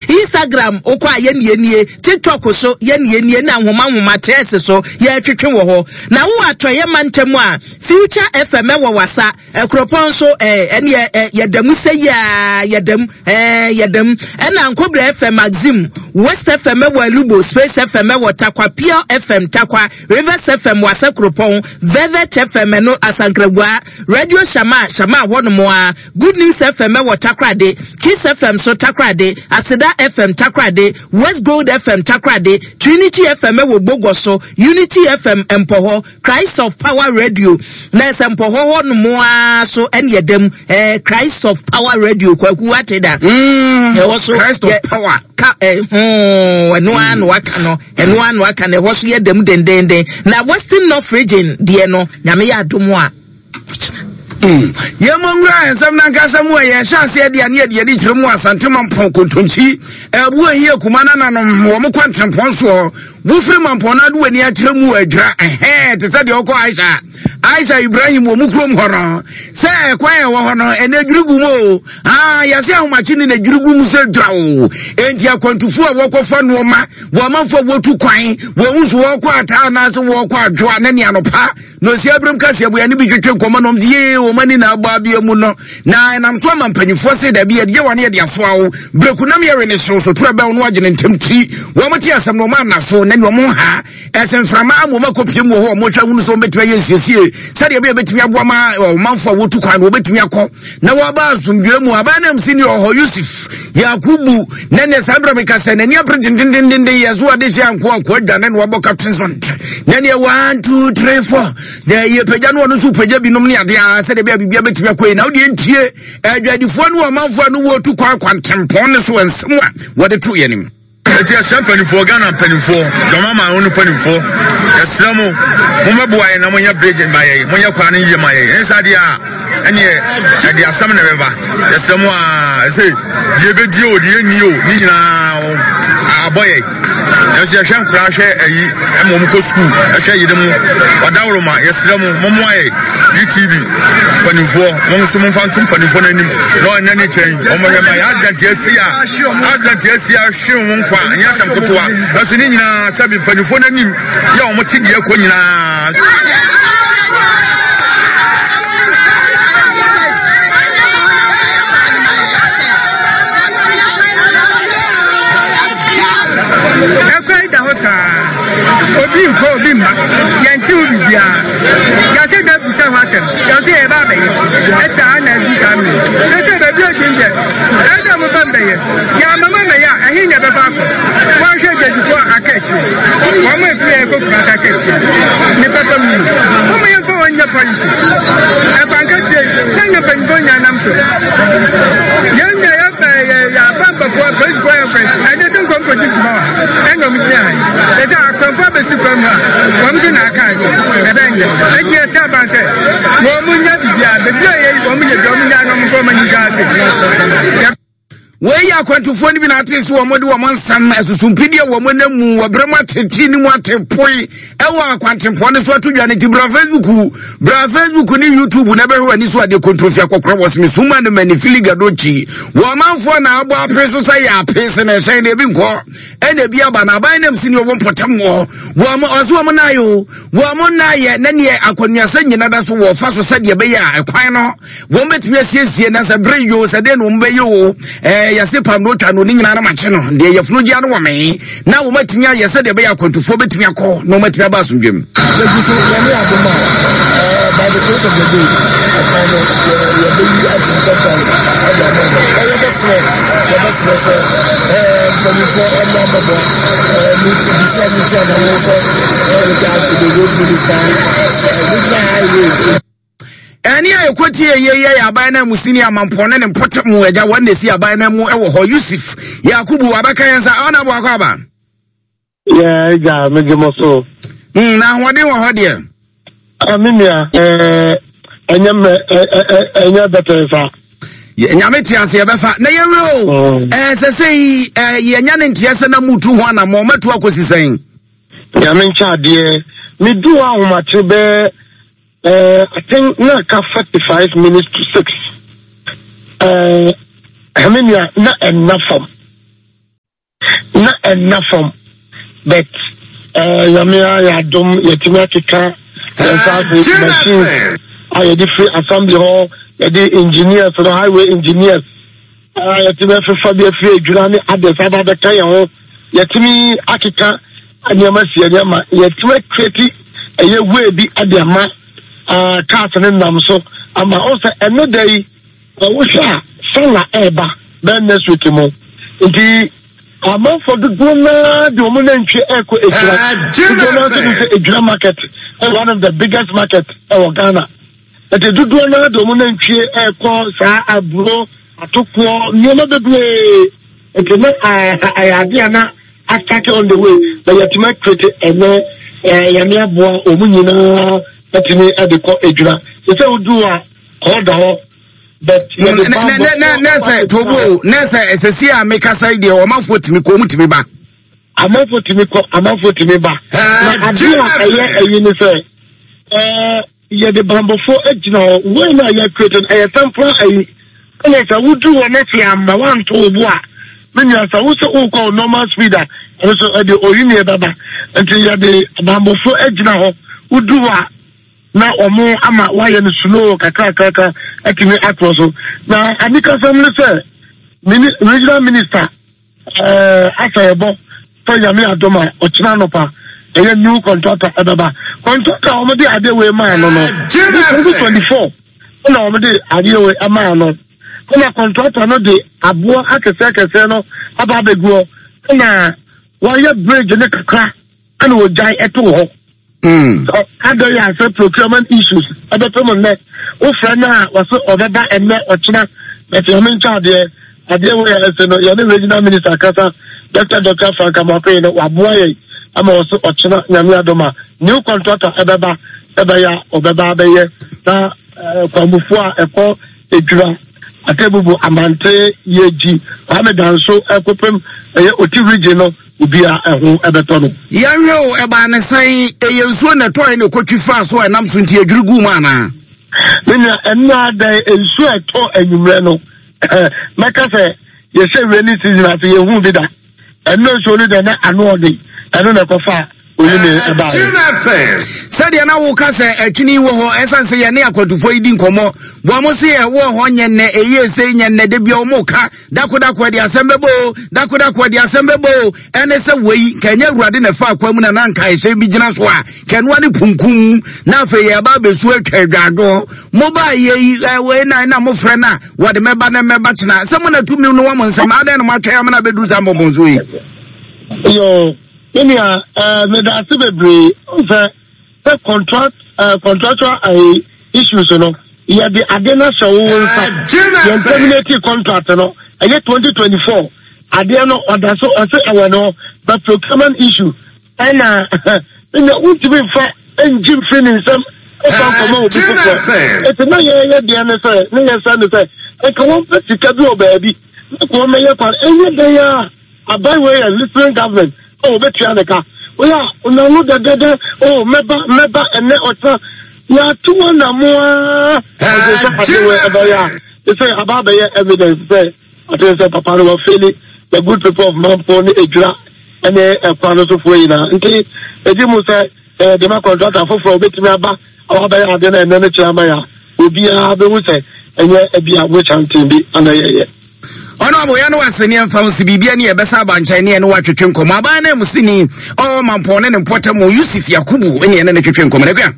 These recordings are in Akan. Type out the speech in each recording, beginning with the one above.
Instagram wokɔ a yɛne nie, TikTok so yɛne nie na nhoma nhoma trɛs so yɛretwetwe wɔ hɔ. Na wowɔ atɔeɛ mantam a, Future FM ɛwɔ wasa, Ɛkuropɔn nso ɛɛ ɛneɛ ɛ yɛda mu sɛ yiaa yɛda mu ɛɛ yɛda mu. Ɛna Nkobra FM Maxim, West FM ɛwɔ Alubo, Space FM ɛwɔ Tarkwa, Pure FM Tarkwa, Rivers FM Wasa Kuropɔn, Velvet FM ɛno Asankragua, Radio Shama Shama hɔnom a, Good News FM ɛwɔ Takoradi, Kiss FM so Takoradi, Aseda FM Takoradi, West Gold FM Takoradi, Trinity FM ɛwɔ Bogoso, Unity FM Mpɔhɔ, Christ of Power Radio na ɛsɛ Mpɔhɔ hɔ nom ara so ɛne ɛda mu ɛɛ Christ of Power Radio Kwaku wate da. Ɛhɔ so Christ of Power. Ka ɛ hoo ɛno ara na waka no ɛno ara na waka no ɛhɔ so yɛ dɛm dendenden na Western North Region deɛ no Nyame yɛ adom a. Yɛmmɔ nwura nsɛm no ankasa mu a yɛhyɛ aseɛ deɛ ne yɛde yɛde kyerɛ mu Asante Mampɔn kontonkyi ɛbu ahi akuma nananom wɔn kɔ ntempɔn soɔ wofiri Mampɔn no ade w'ani akyerɛ mu adwira ɛhɛn te sɛ deɛ ɔkɔ Aisha Aisha Ibrahim wɔ mu kurom hɔ no sɛ ɛkwan a ɛwɔ hɔ no ɛnɛ dwiri gu mu o ah yɛsɛ ahomakye ne na dwiri gu mu sɛ dwa o enti akwantufoɔ a wɔkɔfa nnoɔma wɔn amanfoɔ a wɔtu kwan wɔn nso wɔkɔ ataa anaasɛ wɔkɔ adwoa ne ne anɔpa Na ɔsi abiram kaseɛ boya ne bi twetwe nkɔmmɔ nom yee wɔn ani na abɔ abea mu no na ɛnam so ama mpanyinfoɔ se dabi yɛde yɛ wɔn yɛde asoa wo bereku nam yɛwe ne hyew so toro ɛbɛn no agye ne ntɛm tiri wɔn te asɛm na wɔn ana so na nea wɔn ha ɛsɛ mframa ama wɔn akɔpie mu wɔ hɔ wɔn hwɛ hunu sɛ wɔn bɛtumi ayɛ nsiesie sɛdeɛ ɛbɛyɛ bɛtumi aboa ma ɔmanfoɔ a wɔtu kwan no wɔbɛtumi akɔ na wɔaba asomdwoe mu aban nam si ne ɔhɔ Yusuf Yakubu na ne saa berɛ meka sɛ n'ani abere dendendenden yɛ so ade hyɛ anko anko adwane na wabɔ captain son na neɛ 1 2 3 4 na yɛpagya no ɔno nso pagya binom ne adeɛ a sɛdeɛ bɛa biribia bɛtumi akɔ yi na wodeɛ ntie adwadifoɔ ne ɔmanfoɔ a no wɔtu kwan kwantempɔn ne so nsɛm a wɔde to yɛn nim. Eti yɛsrɛ mpanimfoɔ, Ghana mpanimfoɔ, Dwama man no mpanimfoɔ, yɛsrɛ mo, mommɛboa yɛn na monyɛ bridge ma yɛn, monyɛ kwan no yie ma yɛn. Ɛnyɛ saa deɛ a, ɛneɛ ɛde asɛm na ɛbɛba. Yɛsrɛ mo a, ɛsɛ deɛ ɛbɛdi o, deɛ ɛnni o, ne nyinaa abɔ yɛn. Nanso yɛhwɛ nkoraa hwɛ ayi ɛma wɔn kɔ sukuu, ɛhwɛ yere mo, ɔdaworoma, yɛsrɛ mo, mommoa yɛn. UTV mpanimfoɔ, mo nso momfa nto mpanimfoɔ no anim na ɔnyɛ ne kyɛn, wɔmmɛhwɛ ma yɛn. Accident asi a, Accident asi ahwe wo nkwa nyɛ asɛm ketewa nanso ne nyinaa sɛbi mpanyinfoɔ no anim yɛ wɔn te deɛ ɛkɔ nyinaa. Ɛkwan da hɔ saa, obi nkɔ obi mma, yɛnte wo biribiara. Yɛahyɛ da bisa ho asɛm, yɛn nso yɛba abɛyɛ. Ɛsaa na adu saa mmere. Sɛsɛ baabi a odin deɛ, ɛsɛ sɛ moba mbɛyɛ. Yɛamma mo ammɛyɛ a, ɛhe na yɛbɛfa akɔ? Wɔnhwɛ adwadifoɔ a aka akyire, wɔn a ɛfiri yɛn kɔ Kumasi aka akyire, ne papa mu yi. Momma yɛmfa wɔn nyɛ politics. Ɛkwan kɛseɛ yi, na nyɛ mpanyinfoɔ nyinaa nam so. Yɛn nyɛ yɛ yɛ yɛ apampafoɔ, apolisifoɔ yɛ kwan. Ɛnyɛ sɛ nkɔm kɔdi dwuma wɔ ha, ɛna wɔn gyina ha yi. Ɛsɛ akwanfoɔ abɛsi kwan mu a, wɔn nso na aka ase. Ɛbɛn nyɛ. Eti yɛsɛ aban sɛ, Wɔn mu nya biribiara, baabi a yɛyi wɔn yɛ bi, wɔn nya na wɔn nso wɔn ani nhyɛ ase. Wei yɛ akwantufoɔ no bi na ate so wɔn de wɔn nsɛm asusumpidie wɔn nam mu wɔ berɛ mu atete ne mu atepoe ɛwɔ akwantempɔn no so ato dwa no nti bra Facebook bra Facebook ne YouTube na bɛhwɛ w'ani so adeɛ kontrofi akɔkorɔ wɔ seme suma no mani fili gadokyi wɔ ɔmanfoɔ na abɔ ape so sɛ yɛ ape sɛ na ɛhyɛn na ebi nkɔ ɛna ebi aba na aban nam si ne ɔwɔ mpɔtam wɔ wɔn ɔso wɔn na ayɛ o Wɔn nna ayɛ na neɛ akɔnuasɛ nyina da so wɔfa so sɛdeɛ ɛbɛyɛ a ɛkwan no wɔn bɛtumi asiesie na sɛ bere yoo sɛ deɛ na wɔn bɛyɛ o ɛɛ yɛse pam no otwa no ne nyinaa no makye no deɛ yɛfunu gya no wɔ mee na wɔn atumi ayɛ sɛdeɛ ɛbɛyɛ akwantufoɔ bɛtumi akɔ na wɔn atumi aba asomdwam. Yɛgu so Nyame adom a ɛɛ by the grace of the day ɛkwan no yɛ yɛbɛyi atum tɛntɛn ɛde ama no na yɛbɛsrɛ yɛbɛsrɛ sɛ ɛɛ mpanyinfoɔ ɛmmra mmɛbɔ ɛɛ ne ti bisi a ne ti anamɔ sɛ ɛɛ reach out to the road minister ɛɛ regional highway. Ɛne a ɛkɔtie yɛ yɛ yɛ aban no amusini amampɔn ne ne mpɔtam agya wɔn na ɛsi aban no mu wɔ hɔ Yusuf Yakubu abɛka yɛn nsa ɔna aboakɔ aba. Yɛ agya megye mo so. Na ahoɔden wɔ hɔ deɛ. Ah, me nua, ɛnyɛ mmerɛ, ɛnyɛ bɛtɛɛ saa. Nyame te ase yɛbɛfa na yɛwerɛ o. Ɛsɛ sɛ yi yɛnya ne nteɛ sɛ na mutu ho anammɔn matu akɔsi sɛn. Nyame nkyɛ adeɛ, medu hɔ ahomakye bɛɛ I think na aka 45 minutes to 6. Me nua, na ɛnna fam. Na ɛnna fam but eh, Nyame ayɛ adom yɛtumi akeka yɛn nsa ase machines a yɛde firi assembly hɔ, yɛde engineers no, highway engineers a yɛtumi afefa bi afiri adwira ne others aba abɛka yɛn ho. Yɛtumi akeka nneɛma si yɛn nneɛma, yɛtumi akreti ɛyɛ way bi de ama uh, cars no nam so ama ɔsɛ ɛno da yi. Sɛ wohwɛ a Salah ɛreba bɛyɛ next week mu nti amanfoɔ dodoɔ no ara de wɔn nantwie ɛrekɔ Ejura. Dodoɔ no ara nso nim sɛ Ejura market ɛyɛ one of the biggest market ɛwɔ Ghana. Nti dodoɔ no ara de wɔn nantwie ɛrekɔ saa aburo, atokoɔ, nneɛma bebree. Nti na ɛyɛ adeɛ a na astate on the way na yɛatumi akrete ɛnɛ Nyame aboa wɔn nyinaa atumi de kɔ Ejura. Sɛ sɛ woduru a Hɔ da hɔ. But yɛde bambɔ. Nɛsɛ tobo nɛsɛ ɛsɛsi a mekasa yi deɛ ɔmanfoɔ tumi kɔ ɔmu tumi ba. Amanfoɔ tumi kɔ amanfoɔ tumi ba. Na adeɛ a ɛyɛ ɛyi ne sɛ ɛɛ yɛde bambɔfoɔ agyina hɔ wei na yɛ create no ɛyɛ temporal ayi ɛna sɛ wodu hɔ na sɛ ama wanto wo bo a me nua sɛ wo sɛ wokɔ wo normal speed a ɛno so ɛde oyi ne ɛbɛba nti yɛde bambɔfoɔ agyina hɔ wodu hɔ a na wɔn ama wɔayɛ no slow kakrakrakra atumi atorɔ so na anikasɛm ne sɛ mini regional minister ɛɛ eh, asɛ ɛbɔ sɛ nyame adom a ɔkyena anɔpa ɛyɛ new contractor ɛbɛba contractor a wɔde adeɛ wei maa no no 2024 ɛna wɔde adeɛ wei maa no ɛna contractor no de aboɔ akɛseɛ akɛseɛ no aba abɛguɔ ɛna wɔayɛ bridge ne kakra ɛna wɔgyae ɛtoo hɔ hmm. Adɛn yɛ asɛ procurement issues ɛbɛpɛ mu nnɛ wofrɛ no a wɔse ɔbɛba ɛnnɛ ɔkyena but nyame nkyɛ adeɛ adeɛ wei a ɛsɛ no yɛne regional minister kasa Dr. Dr. Frank Amoakoye no waboa yɛn ama wɔse ɔkyena nyame adom a new contractor ɛbɛba ɛbɛyɛ a ɔbɛba abɛyɛ na eh, kwamufoɔ a ɛkɔ Edwira, Atebubu, Amante, Yeji, Kwame Danso ɛkɔpem ɛyɛ Oti region no obiara ɛho ɛbɛtɔ no. Yɛnhwɛ o, ɛbaa ne sɛn? Ɛyɛ nsuo na ɛtɔe na ɛkɔtwi faa so a ɛnam so nti ɛdwiri guu mu anaa? Me nua, ɛno ara dɛn, nsuo a ɛtɔ anwummerɛ no, mɛka sɛ yɛhyɛ rainy season ase yɛnhuu bi da. Ɛno nsuo no deɛ na ano ɔden, ɛno na ɛkɔfaa oyi ne ɛbaeɛ. Sɛdeɛ na woka sɛ ɛtwene wɔ hɔ, ɛsiane sɛ yɛne akwantufoɔ yi di nkɔmmɔ, wɔn se ɛwɔ hɔ nyɛ nnɛ, ɛyie sei nyɛ nnɛ, da bia wɔn ka, dakodako ɛde asɛm bɛbɔ o, dakodako ɛde asɛm bɛbɔ o, ɛne sɛ wei, nka ɛnyɛ awurade na ɛfa akwan mu na na nka ɛhyɛn bi gyina so a, kɛnoa ne punkum, na afei yɛba abɛsu atwa adwadwo, mobaa yɛ yi, wei na na mofrɛ no a, wɔde mɛba na mɛba kyena, sɛ mo na tumi no wɔ mo nsam, adɛn na moatwɛn amena abɛduru saa mbɔmbɔnsuo yi? Yo, me nua, eh, meda ase bebree sɛ sɛ contract eh, contractual eh, issues no yɛde ade no ahyɛ wo nsa yɛn terminate contract no ɛyɛ 2024 adeɛ no ɔda so ɔsɛ ɛwɔ no but procurement issue ɛna ɛna wontumi nfa ngye mfiri ne nsam ɛfa nkɔma obi foforɔ ɛti na yɛyɛ deɛ ne sɛ ne yɛ sɛ ne sɛ nka wɔmpɛ sika bi wɔ baabi na kɔ wɔmɛyɛ kwan ɛnyɛ dɛn a Aban wei yɛ listening government a wɔbɛtua ne ka. Woyɛ a n'ano dɛdɛdɛ oh mɛba mɛba ɛnɛ ɔkyena. Yɛato wɔn na mo ara ɔde sɛ ade wei ɛbɛyɛ a te sɛ aba abɛyɛ evidence sɛ ate sɛ papa no wɔfeeli the good people of Mampo ne Edwira ne ɛkwan no sofoɔ nyinaa. Nti ɛdi mu sɛ ɛyɛ dema contractor foforɔ a wɔbɛtumi aba a wɔabɛyɛ ade no ɛnɛ no kyerɛ ama yɛ a obiara bɛhu sɛ ɛnyɛ ebi a witch hunting bi ana yɛyɛ. Honorable yɛne wase ne ɛmfa ho si biribia ne yɛbɛsa aba nkyɛn ne ɛne watwetwe nkɔmmɔ aban no mu sini ɔwɔ mampɔn ne ne mpɔtam Yusuf Yakubu ne ɛne ne twetwe nkɔmmɔ no akua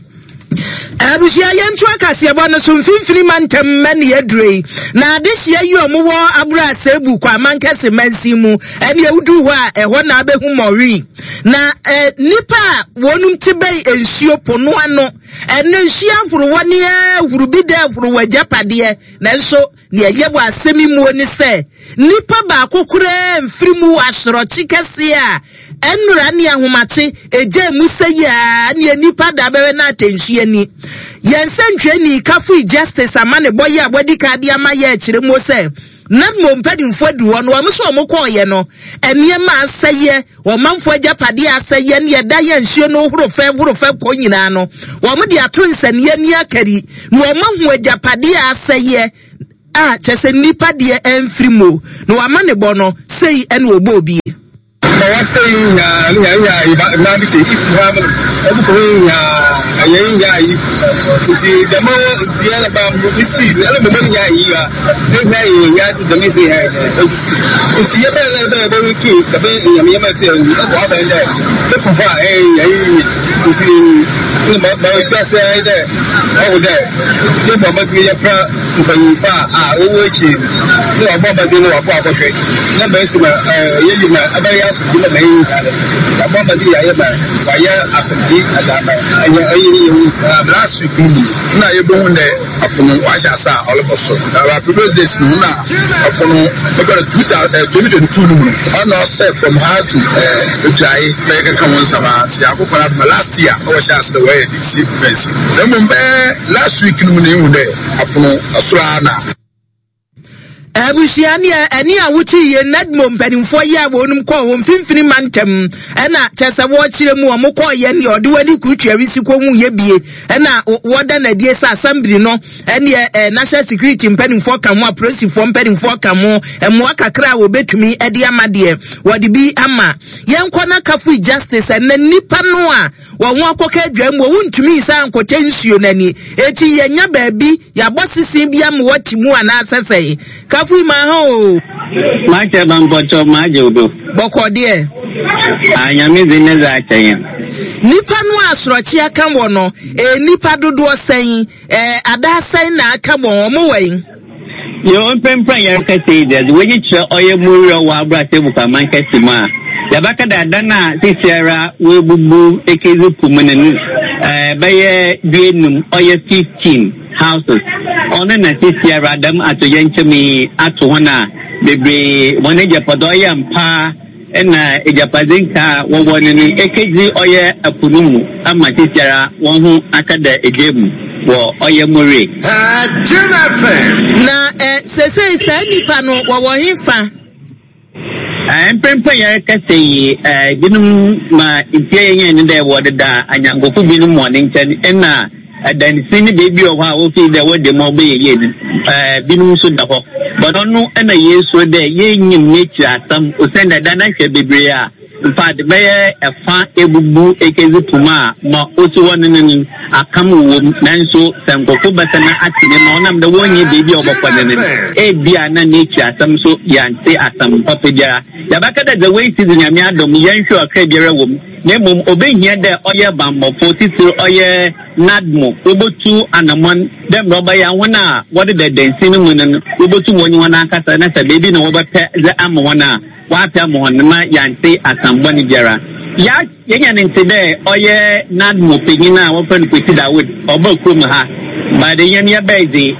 Abusua yɛnto akaseɛbɔ no so mfimfini mantam mma ne aduro yi na adehyeɛ yi ɔmo wɔ abura asɛbu kɔ amankɛse mansin mu ɛne awudu hɔ a ɛhɔ na abɛhu mɔwi na eh, nipa a wɔnom te bɛn nsuo po no ano ɛne nsuo ahorowa ne ahuru bi dɛ ahorowa agyapadeɛ nanso Nea ɛyɛ wɔ asɛm yi muo ne sɛ, nipa baako koraa mfiri mu wɔ asorɔkye kɛseɛ a ɛnnora ne ahomakye egyaa mu sɛ yi ara neɛ nipa da bɛwɛ na atɛnhye ani. Yɛn sɛntwerɛni Kafui Justice amanebɔ yi a wadi kan de ama yɛ kyerɛ muo sɛ, NADMO mpanimfoɔ aduru hɔ no wɔn nso wɔn kɔɔeɛ no nneɛma asɛeɛ, ɔmanfoɔ agyapadeɛ asɛeɛ ne ɛda yɛ nsuo no horo fɛ horo fɛ kɔ nyinaa no wɔn de ato nsɛnniɛ ne akari na wɔn ahu agyapadeɛ asɛeɛ a kyɛ sɛ nnipa deɛ ɛmfiri mu na wɔama ne bɔ no sei ɛna ɔbɔ obi. wɔasɛe yi nyinaa no nyinaa nyinaa yi ba mmaa bi te ifi ha no ɛbu kɔ yi nyinaa ɛyɛ yi nyinaa yi nti dɛm dua na ba mu esi ɛna mo mo nyinaa yi ya ɛnyɛ yi ya ti dɛm esi yɛ ɛsi nti yɛ bɛyɛ na bɛyɛ bɛyɛ tu dɛm nyame yɛ mɛ ti ɛyi ɛbɔ abɛn dɛ ɛkɔ hɔ a ɛyɛ yɛ yi nti ɛna ma ma etu ase ayɛ dɛ ɔwɔ dɛ yɛ bɔ ɔbɛtumi yɛ fra. Mpanyimfo a a wɔwɔ ekyir no na wɔabɔ mbɔdzen na wɔakɔ akɔhwɛ na ma esi ma yɛyi ma abɛyɛ asomdwee ma ma yɛnyi ha no, yɛabɔ mbɔdzen yɛayɛ ma wɔayɛ asomdwee dze ama hɛn enyi nye hɛn nyinaa. Last week no mu nna yebohun dɛ ɔpo no ɔahyɛ ase a ɔrobɔ sor. Na ba previous days no nna ɔpo no bɛba no 2022 no mu no ɔna ɔsɛɛ from ha to Etuae na yɛkɛkã ho nsɛm ara ntsi Nyankopɔn adom a last year na wɔhyɛɛ ase dɛ wɔyɛ de si fence na mbom bɛyɛ last week no mu na ehu dɛ Apono soro ara na. Abusua neɛ ɛne a wote yie NADMO mpanimfoɔ yi a wɔnom kɔɔ wɔn mfimfini mantam ɛna kyɛ sɛ wɔkyerɛ mu wɔn kɔɔ yɛ neɛ ɔde wɔde kurutua wisi kɔ hu yɛ bie ɛna wɔda n'adie sɛ asambiri no ɛneɛ ɛ national security mpanimfoɔ ka ho apolisifoɔ mpanimfoɔ ka ho mmoa kakra a wɔbɛtumi ɛde ama deɛ wɔde bi ama yɛnkɔ na kafui justice ɛnɛ nipa no a Wɔn ho akɔka adwa mu, wontumi nsan nkɔtɛ nsuo no ani. Enti yɛanya baabi, yɛabɔ sese bi ama wɔte mu anaasɛ sɛn? Kafui ma ha o. Makyɛ ba mpɔkyɛw magye wo do. Bɔkɔ deɛ. Ah Nyame dze ne dze akyɛ yɛn. Nipa no a asorɔkye aka wɔ no, ɛyɛ nipa dodoɔ sɛn? Ɛɛ adaa sɛn na aka wɔn? Wɔn wɔ yi? Nyew, mprempren a yɛrekasa yi dze, dze w'enyi kyerɛ ɔyɛ mu werɛ wɔ abrasɛɛ mu kwaman kɛse mu a, yɛbɛka dɛ adan a seseiara woebubu ekedzi po mu no no bɛyɛ duenum, ɔyɛ fifteen houses. Ɔno na seseiara dɛm atoyerɛnkyɛm yi ato hɔn a beberee hɔn egyapadze ɔyɛ mpa, Nna egyapadze nkaa a wɔwɔ no no ekedzi ɔyɛ po no mu ama seseiara hɔnho akɛda egya mu wɔ ɔyɛ More. Na sesei saa nnipa no wɔwɔ hefa? Mprempren yɛrekasa yi, binom ma ntsia yɛnyae nye dɛ wɔdeda anyɛnkofo binom hɔn nkyɛn nna Adansi ne beebi wɔ hɔ a wofii dɛ wɔda mu a ɔbɛyɛ yie no, binom so da hɔ. But ɔno na yesuro dɛ yennyim n'ekyir asɛm osiandɛ da no ahwɛ beberee a, infact bɛyɛ fa ebubu ekedzi po mu a ma osi hɔ no no akam wowɔ mu. Nanso sɛ nkorɔfo bɛsan atse ne ma ɔnam dɛ wonnyi beebi a wɔbɔkɔ no no, ebia na n'ekyir asɛm so yɛanntse asɛm papa biara. Yɛbɛka dɛ dza woesi dze Nyame adom yɛnnhwer ɔkra biara wɔ mu. Na mbom obehia dɛ ɔyɛ bambɔfo, tsitsir ɔyɛ NADMO, wobotu anamɔn dɛ mbrɛ ɔbɛyɛ a hɔn a wɔdeda dansi no mu no wobotum wɔnye hɔn akasa na sɛ beebi na wɔbɛpɛ dze ama hɔn a, wɔapɛ ama hɔn ma yɛanntse asɛm bɔn biara. Ya yenya no ntse dɛ ɔyɛ NADMO panyin a wɔfrɛ no Kwesi Dawood, ɔbaa kurom ha, but hɛn yɛbae dze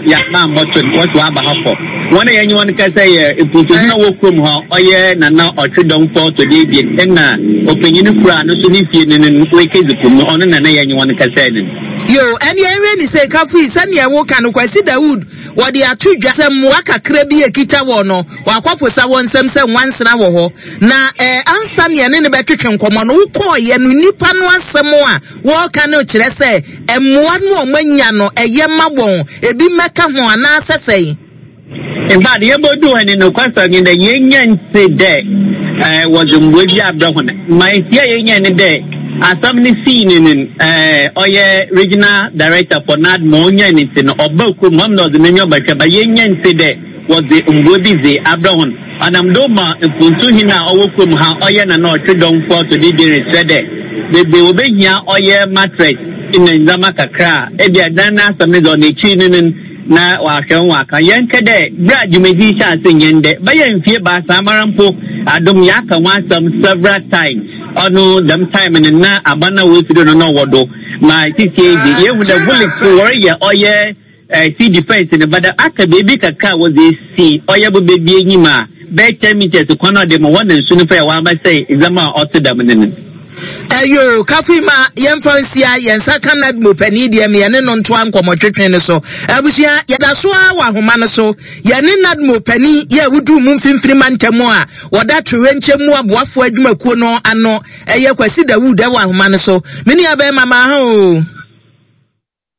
yɛamma ammbɔto no, wɔse ɔaba ha kɔ. Hɔn a yɛnye hɔn kasa yɛ mpuntuhun a ɔwɔ kurom hɔ, ɔyɛ Nana Ɔtwedɔmfo ɔtɔ do ebien nna ɔpanyin kor a no so ne fie no no oekedzi po mu, ɔno na na yɛnye hɔn kasae no. Yoo, ɛnneɛ nhwɛ ni sɛ kafo yi, sɛdeɛ woka no, Kwasi Dawood, wɔde ato dwa sɛ mmoa kakra bi a ɛkita wɔn no, wɔakɔposa wɔn nsam sɛ nwansena wɔ hɔ. Na eh, ansa ne yɛne no bɛtwetwe nkɔmmɔ no, wokɔɔeɛ no, nnipa no asɛm a wɔreka no kyerɛ sɛ mmoa no a wɔanya no, ɛyɛ ma wɔn, ebi mmɛka ho anaasɛ sɛn? In fact, yebodu hɔ no, nokwasɛm nye dɛ yennya nntse dɛ wɔdze mboa bi abrɛ hɔn. Ma esi a yenyae nye dɛ asɛm no sii no no, ɔyɛ Regional Director for NADMO, onyae no ntsi no, ɔbaa kurom hɔ na ɔdze n'enyiwa bɛhwɛ, but yennya nntse dɛ wɔdze mboa bi dze abrɛ hɔn. Ɔnam do ma mpontu hen a ɔwɔ kurom ha, ɔyɛ Nana Ɔtwedɔmfo Ɔtɔdo Ebien rekyerɛ dɛ beebi a wobehia ɔyɛ mattress na ndzɛmba kakra a, ebia dan n'asɛm no dze ɔno ekyir no no, na ɔahwɛ ho ɔaka. Yɛnnkɛ dɛ ber a dwumadzi yi hyɛɛ ase nnyɛ ndɛ, bɛyɛ mfe ebiasa mara mpo, adom yɛaka ho asɛm several times. Ɔno dɛm time no nna aban a woesi do no na ɔwɔ do. Ma sesei dze yehu dɛ Bullets wɔreyɛ ɔyɛ sea defence no, but aka beebi kakra a wɔdze esi ɔyɛ bobe bi enyim a bɛyɛ ten metres kwan a ɔdze ma hɔ na nsu no fa a wɔabɛsɛɛ ndzɛmba a ɔtse dɛm no no. Ɛyoo, Kafui ma yɛmfa nsia yɛn nsa ka NADMO panin deɛ me yɛne no ntoa nkɔmmɔtwetwe no so. Abusua, yɛda so ara wɔ ahoma no so. Yɛne NADMO panin yɛ a woduu mu mfimfini mantam a wɔda toyerɛnkyɛm mu aboafoɔ adwumakuo no ano, ɛyɛ Kwasi Dawood wɔ ahoma no so. Me nua bɛrima, maa ha oo.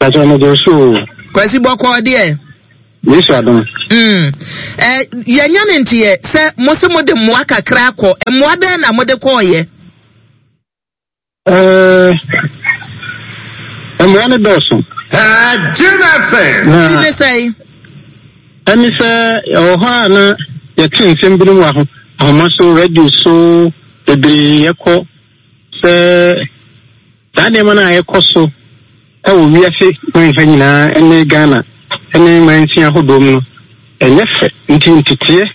Pakyɛ mede wo so o. Kwasi bɔkɔɔ deɛ. Yesu adom. Mm. Eh, yɛnya ne nteɛ sɛ mo se mode mmoa kakra akɔ. Mmoa bɛn na mode kɔɔyɛ? Eh, mmoa no dɔɔso. Jim FM. Na ne sɛn? Ɛne sɛ ɛwɔ hɔ a na yɛte nsɛm binom wɔ ahoma so, radio so, bebree yɛkɔ sɛ saa nneɛma no a ɛkɔ so wɔ wiase man ha nyinaa ne Ghana ne mansin ahodoɔ mu no, ɛnyɛ fɛ. Nti nteteɛ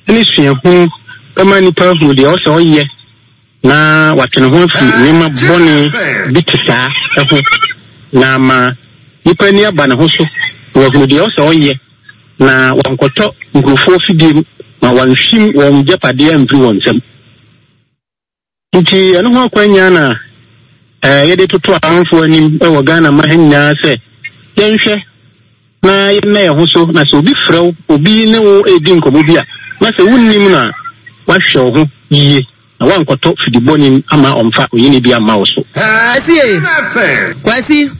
ne suahunu bɛma nnipa ahunu deɛ ɔsɛ ɔyɛ na watwe ne ho afiri nneɛma bɔne bi te saa ho, na ama nipa ani aba ne ho so na wahunu deɛ ɔsɛ ɔyɛ na wankɔtɔ nkurɔfoɔ fidie mu ma wanhwim wɔn gyapadeɛ amfiri wɔn nsam. Nti ɛno ho akwannya na yɛde toto amanfoɔ anim wɔ Ghana ma ha nyinaa sɛ yɛnhwɛ na yɛnna yɛn ho so na sɛ obi frɛ wo, obi ne wo redi nkɔmmɔ bi a, na sɛ wonnim no a, woahwɛ wo ho yie na woankɔtɔ fidi bɔne mu ama ɔmfa oyene bi amma wo so. Kwasi e, Kwasi,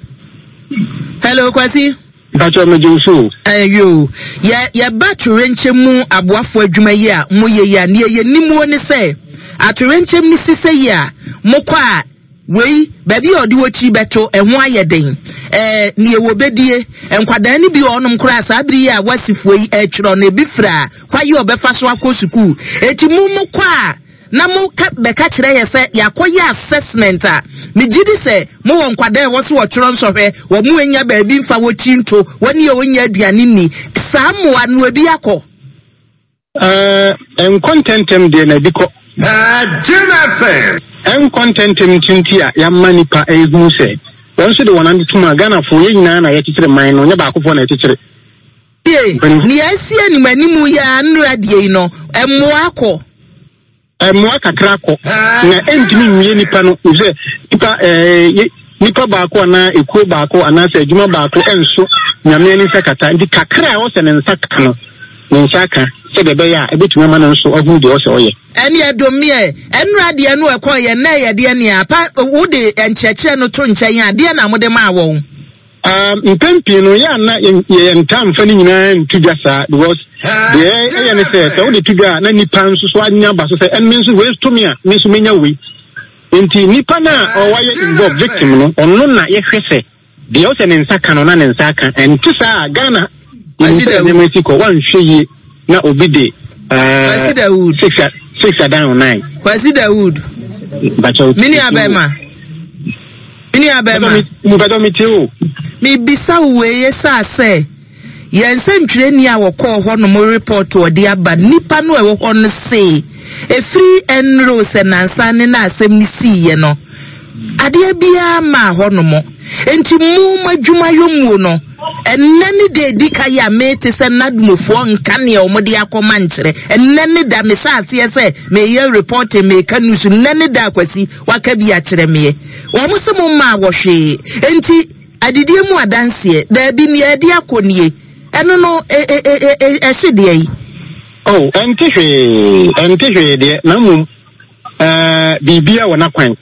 hello Kwasi. Mpakyɛw megye wo so o. Ɛyoo, yɛ yɛba atoyerɛnkyɛm mu aboafoɔ adwuma yi a moyɛ yi a, neɛ yɛnim o ne sɛ, atoyerɛnkyɛm no si sɛ yi a, mokɔ a, wei, baabi a ɔde wɔ tiri bɛto, ɛho ayɛ den. Ɛɛ, neɛ wɔbɛdie, nkwadaa no bi wɔ hɔnom koraa saa bere yi a wasifoɔ yi ɛretwerɛ no, ebi firi a, kwaye a ɔbɛfa so akɔ sukuu. Eti mo mokɔ a, na mo ka bɛka kyerɛ yɛ sɛ yɛakɔyɛ assessment a, megye di sɛ mowɔ nkwadaa a ɛwɔ so wɔtwerɛ nsɔhwɛ, wɔn anya baabi mfa wɔ tiri nto, wɔn a wɔnnya aduane nni. Saa mmoa no ebi akɔ? Ɛɛ, ɛnkɔ ntɛmntɛm deɛ na ebi kɔ. Jim FM. Ɛnkɔ ntɛmntɛm nti nti a yɛama nnipa rehunu sɛ wɔn nso de wɔn ano tom a, Ghanafoɔ, yɛn nyinaa na yɛkyekyere man no, nyɛ baakofoɔ na ɛkyekyere. Tie, nea asi anim anim yi ara nnora deɛ yi no, mmoa kɔ. Mmoa kakra kɔ, na ɛntumi nwie nipa no, efisɛ nipa ɛɛ nipa baako anaa ekuo baako anaasɛ adwuma baako ɛnso Nyame ani nsa kata, nti kakra a ɛwɔ sɛ ne nsa ka no, ne nsa aka, sɛdeɛ ɛbɛyɛ a ɛbɛtumi ama no nso ahunu deɛ ɛwɔ sɛ ɔyɛ. Ɛne ɛdomeɛ, ɛnora deɛ no ɛkɔɔyɛ, nnɛ ɛyɛ deɛ nea, pa, wode nkyerɛkyerɛ no to nkyɛn a, deɛ na mode maa wɔn? Um, mpɛn pii no yɛ a na yɛntaa mfa ne nyinaa nto dwa saa because deɛ ɛyɛ ne sɛ sɛ wode to dwa a na nipa nso so anya ba so sɛ ɛme nso wei to me a me nso menya wei nti nipa no a ɔwayɛ involve victim no ɔno na yɛhwɛ sɛ deɛ ɔsɛ ne nsa ka no na ne nsa aka ɛnte saa a Ghana yɛnim sɛ nneɛma si kɔ wanhwɛ yie na obi de Kwasi Dawood. Six adan o nine. Kwasi Dawood. Me nua bɛrima. Me nua bɛrima. Mpakyɛw me tie o. Mebisa wo wei esaa sɛ yɛn nsɛntwerɛni a wɔkɔɔ hɔ nom report ɔde aba nipa no a ɛwɔ hɔ no se efiri ɛnoro sɛ nansa ne na asɛm no siiɛ no adeɛ biara maa hɔ nom nti mo mo adwuma yɔ muo no ɛnnɛ ne da edi ka yi a mete sɛ nadmofoɔ nka neɛ wɔn de akɔma nkyerɛ ɛnnɛ ne da mehyɛ aseɛ sɛ meyɛ reporting meka news nnɛ ne da akwasi Waka bi akyerɛ meɛ. Wɔn se mo mmaa wɔ hwee. Enti adidie mu adanseɛ, daabi, nea ɛde akɔ nie. Ɛno no, e, e, e, e, e, ɛhye deɛ yi. Oh, ɛnte hwee, ɛnte hwee deɛ, na mmom, ɛɛ, biribiara wɔ n'akwan.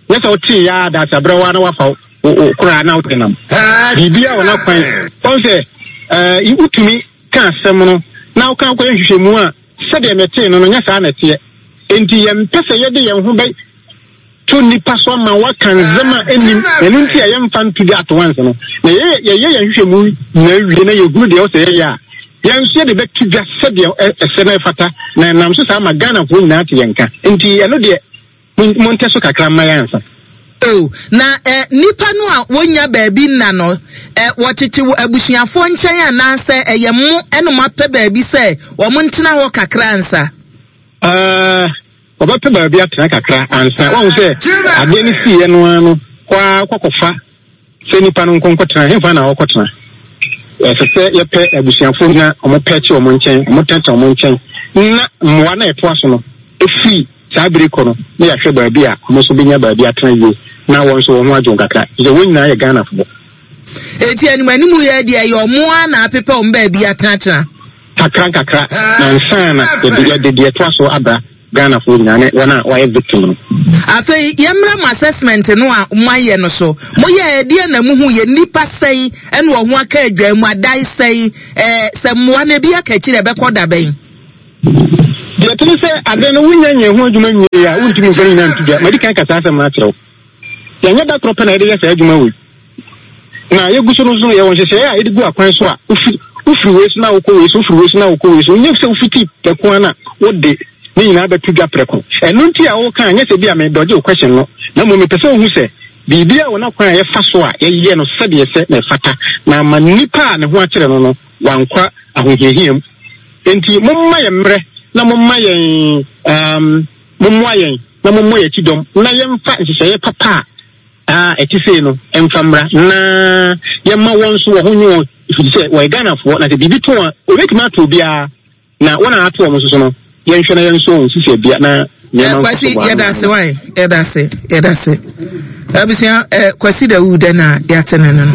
Nyɛ sɛ wotee ya ara daakye abrɛ wo ara na wafa wo, wo koraa na wode nam. Biribiara wɔ n'akwan. Wɔn sɛ, ɛɛ, wotumi ka asɛm no na woka kɔyɛ nhwehwɛmu a, Sɛdeɛ metee no no, nyɛ saa na ɛteɛ. Enti yɛmpɛ sɛ yɛde yɛn ho bɛto nnipa so ama wɔaka nsɛm a ɛnnim, na ɛno nti a yɛmfa nto dwa at once no. Na yɛyɛ yɛyɛ yɛn nhwehwɛmu nyinaa wie na yɛhunu deɛ ɛwɔ sɛ yɛyɛ a, yɛn nso yɛde bɛto dwa sɛdeɛ ɛsɛ na ɛfata, na ɛnam so saa ma Ghanafoɔ nyinaa ate yɛn nka. Enti ɛno deɛ, Montɛ so kakra mma yɛn ansa. O, na ɛ, nnipa no a wɔnnya baabi nna no, ɛ, wɔtete wɔ abusuafoɔ nkyɛn anaasɛ ɛyɛ mo na moapɛ baabi sɛ wɔntena hɔ kakra ansa? Ɛɛ, wɔbɛpɛ baabi atena kakra ansa. Woahu sɛ adeɛ no siiɛ no ara no, kɔ ara kɔkɔfa sɛ nnipa no nko nkɔtena. Hefa na wɔkɔtena? Ɛsɛ sɛ yɛpɛ abusuafoɔ na wɔpɛɛkye wɔn nkyɛn, wɔtenatena wɔn nkyɛn, na mmoa no a ɛtoa so no firi Saa bere kɔ no, na yɛahwɛ baabi a wɔn nso benya baabi atena yie na wɔn nso wɔn ho adwo kakra, efisɛ wɔn nyinaa yɛ Ghanafoɔ. Enti anim anim yi ara deɛ, ɛyɛ wɔn ara na apepɛ wɔn baabi atenatena. Kakra nkakra, na ansa na yɛde yɛde deɛ ɛtoa so aba. Ghanafoɔ nyinaa ne wɔn a wɔayɛ victim no. Afei yɛmmra mo assessment no a moayɛ no so. Moyɛɛ ɛdeɛn na mohuiɛ? Nnipa sɛn na wɔn ho aka adwan mu? Adan sɛn? Ɛɛ sɛ mmoa no ebi aka akyiri a ɛbɛkɔ da bɛn? Deɛ ɛte ne sɛ adeɛ no wonya nyɛɛ ho adwuma nwieeɛ a wontumi mfa ne nyinaa nto dwa. Madi kan ka saa asɛm no akyerɛ wo. Yɛnyɛ da korɔ pɛ na yɛde yɛ saa adwuma wei. Na yɛgu so no nso no, yɛwɔ nhyehyɛeɛ a yɛde gu akwan so a wofi wofiri wei so na wokɔ wei so, wofiri wei so na wokɔ wei so. Nyɛ sɛ wofiti prɛko ara na wode ne nyinaa bɛto dwa prɛko. Ɛno nti a woka a, nyɛ sɛ bi a medɔgye wo question no, na mmom mepɛ sɛ wohu sɛ biribiara wɔ n'akwan a yɛfa so a yɛyɛ no sɛdeɛ ɛsɛ na ɛfata, na ama nipa a ne ho akyere no no wankɔ ahohiahia mu. Enti momma yɛn mmerɛ na momma yɛn um, mommoa yɛn na mommɔ yɛn akyi dɔm na yɛmfa nhyehyɛeɛ papa a ɛte sei no mfa mmra na yɛma wɔn nso wɔn ho nye wɔn ɛfiri sɛ wɔyɛ Ghanafoɔ na sɛ biribi to a wɔbɛtumi ato obiara na wɔn a ato wɔn nso so no yɛnhwɛ na yɛnsɔ wɔn sisi abia na nneɛma nkɔ so Kwasi yɛda ase wae yɛda ase yɛda ase abusua eh, Kwasi Dawu dɛ na yɛate ne no no.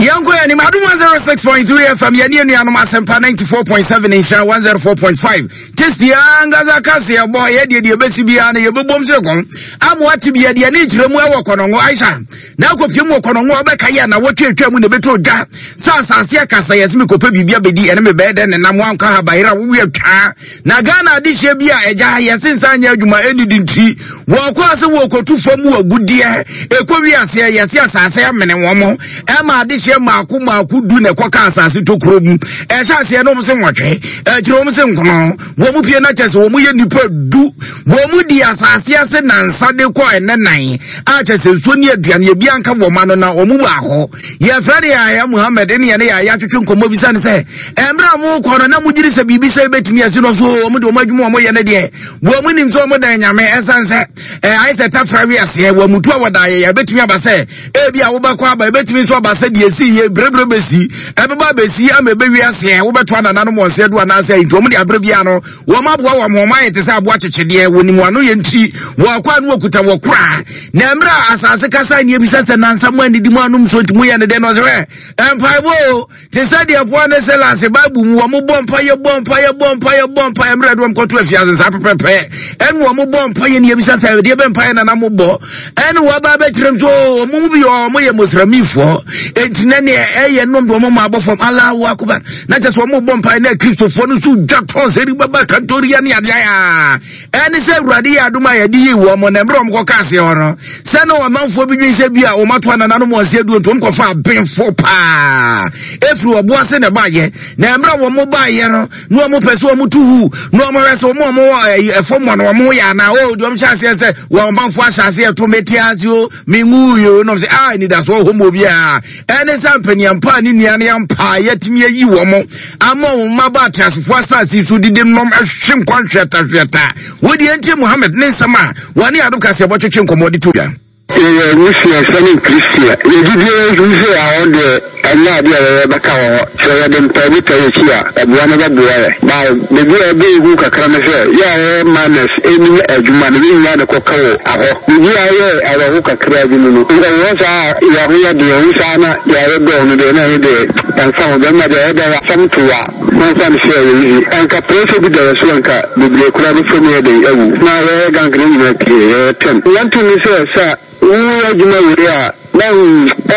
Yɛnkɔ yɛn anim Adum 106.3 FM yɛne anuanom Asɛmpa 94.7 Nhyira 104.5 Testi ankasa ka sɛ yɛbɔ yɛ deɛ deɛ ɛbɛsi biara no yɛbɛbom sɛ kɔn ama wate bi yɛdeɛ ne kyerɛ mu ɛwɔ kɔnɔngo Aisha na akɔpie mu wɔ kɔnɔngo a wobɛka yɛ na wɔtwe atwa mu na ɛbɛtɔ dwa sɛ asase akasa yɛ sɛ mekɔpɛ biribi abɛdi ɛne mebɛyɛ dɛ ne nam wankɔ ha bayera wowe atwaa na Ghana adehyeɛ bi a ɛgya yɛse nsa nyɛ adwuma ɛnidi nti wɔkɔ ase wɔkɔtu fam wɔ agudeɛ ɛkɔ wi aseɛ yɛse asase amene wɔn mo ɛma adehyeɛ mmaako mmaako du na ɛkɔka asase tokuro mu ɛhyɛ aseɛ no wɔn se nwɔtwe akyire wɔn se nkono wɔn mu pie na kyɛ sɛ wɔn yɛ nipa du wɔn mu di asase ase nansa de kɔ ɛnɛ nan a kyɛ sɛ nsuo ne aduane ebi anka wɔn ano na wɔn mu baako yɛfrɛ no yɛayɛ muhammed ne yɛne yɛayɛ atwetwe nkɔmmɔ bisa no sɛ ɛmmerɛ a mokɔ no na mogyere sɛ biribi sɛ bɛtumi asi no so wɔn de wɔn adwuma wɔn yɛ no deɛ wɔn mu nim sɛ wɔn dan nyame ɛsan sɛ ayɛ sɛ tafra wi aseɛ wɔn mutu a wɔda yɛ yɛbɛtumi aba sɛ ebi a wobɛkɔ aba ebɛtumi nso aba sɛ deɛ esi yɛ berebere bɛsi ɛbɛba bɛsi ama ɛbɛwi aseɛ wobɛto anananom wɔn sɛ do anaasɛ nti wɔn de abere bia no wɔn aboa wɔn wɔn ayɛ te sɛ aboa kyekyedeɛ wɔn mu ano yɛ nti wɔn akɔ ano wɔkuta wɔ kora na mmerɛ a asase kasa ne ebisa sɛ nansa mu anidi mu anom so nti mu yɛ ne dɛ no ɔsɛ hwɛ mpaebɔ o te sɛ deɛ Paul ne Silas Bible mu wɔn bɔ mpa yɛ bɔ mpa yɛ bɔ mpa yɛ bɔ mpa yɛ mmerɛ de wɔn kɔto afiase nsa pɛpɛpɛ ɛne wɔn bɔ mpa yɛ ne ebisa sɛ deɛ bɛ mpa yɛ nana mo bɔ ɛne wɔn ba abɛkyerɛ mu so wɔn mu bi wɔn yɛ musramifoɔ eti na neɛ ɛyɛ nom de wɔn ma abɔ fam Allahu akubar na kyɛ sɛ wɔn bɔ mpa yɛ na kristofoɔ no so dwa tɔn sɛ ɛde bɛba kantoria ne adeɛ a Ɛne sɛ Awurade yɛ adom a yɛde yii wɔn na mmerɛ wɔn kɔka aseɛ hɔ no, sɛ na ɔmanfoɔ bi dwen sɛ bi a wɔn ato anananom wɔn ase aduo nti wɔn kɔfa abenfo paa ɛfiri ɔbo ase na ɛbaayɛ na mmerɛ wɔn baayɛ no na wɔn pɛ sɛ wɔn tu hu na wɔn hwɛ sɛ wɔn a wɔn wɔ ɛfam hɔ no wɔn yɛ anaa o deɛ wɔn hyɛ aseɛ sɛ wɔn ɔmanfoɔ ahyɛ aseɛ to mete ase o menwu yi o na wɔn sɛ a anidasoɔ hɔ mu obiara ɛne sɛ mpanyinampa a ne nua ne ampa a yɛatumi ayi wɔn ama wɔn mma ba ateasefoɔ asase so didi nom ɛhwe nkwa nhwɛtahwɛta wodeɛ nti Muhammad ne nsɛm a wɔne adom kaseɛbɔ twetwe nkɔmmɔ de to dwa. Yɛyɛ Muslims ne Christian. Yɛ gyidie nso sɛ ahɔ deɛ ɛnyɛ adeɛ a yɛyɛ bɛka wɔ hɔ. Sɛ yɛde mpaebɔ taa yɛ akyi a, ɛboa no bɛboa yɛ. But baabi a ɛbɛyɛ hu kakra ne sɛ, yɛ a yɛyɛ miners nnim adwuma no, yɛn nyinaa na ɛkɔka wɔ ahɔ. Biribi a ɛyɛ awerɛho kakra bi no no, ɛwɔ hɔ saa a yɛ ho yɛ den, ɛho saa na yɛ a yɛdɔɔ no deɛ na ɛno deɛ ɛmfa ho. Bɛrima deɛ ɛyɛ dɛn asɛm to wo a, momfa no sɛ ɛyɛ easy. Anka pressure bi da yɛ so a anka bebree koraa bɛfa mu yɛ den awu. Na yɛyɛ gang no nyinaa pie, yɛyɛ ten. One thing ne sɛ, sɛ woyɛ adwuma wei a, na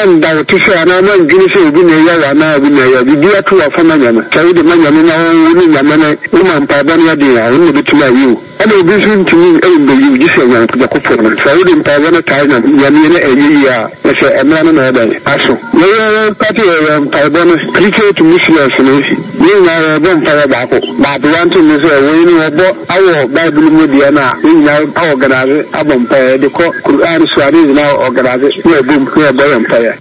ɛnda wo te sɛ anaa woandwene sɛ obi na ɛyɛ wo anaa obi na ɛyɛ wo. Biribi ato wo afa ma Nyame. Sɛ wode ma Nyame na wo ne Nyame no woma mpaebɔ no yɛ den a, ɔno na obetumi ayi wo. Ɛna obi nso ntumi mbeyi wo gye sɛ Nyankopɔn no. Sɛ wode mpaebɔ no taa Nyame na ɛnyɛ yie a, na sɛ ɛmmra no na ɛyɛ dɛn? Aso. Yɛyɛ yɛn party yɛ yɛn mpaebɔ no Christian to Muslims no yɛn nyinaa yɛbɔ mpaeɛ baako but one thing ne sɛ wei no wɔbɔ awɔ bible mu deɛ no a yɛn nyinaa aorganise abɔ mpaeɛ yɛde kɔ Quran so a ne nyinaa organise na yɛbom na yɛbɔ yɛn mpaeɛ.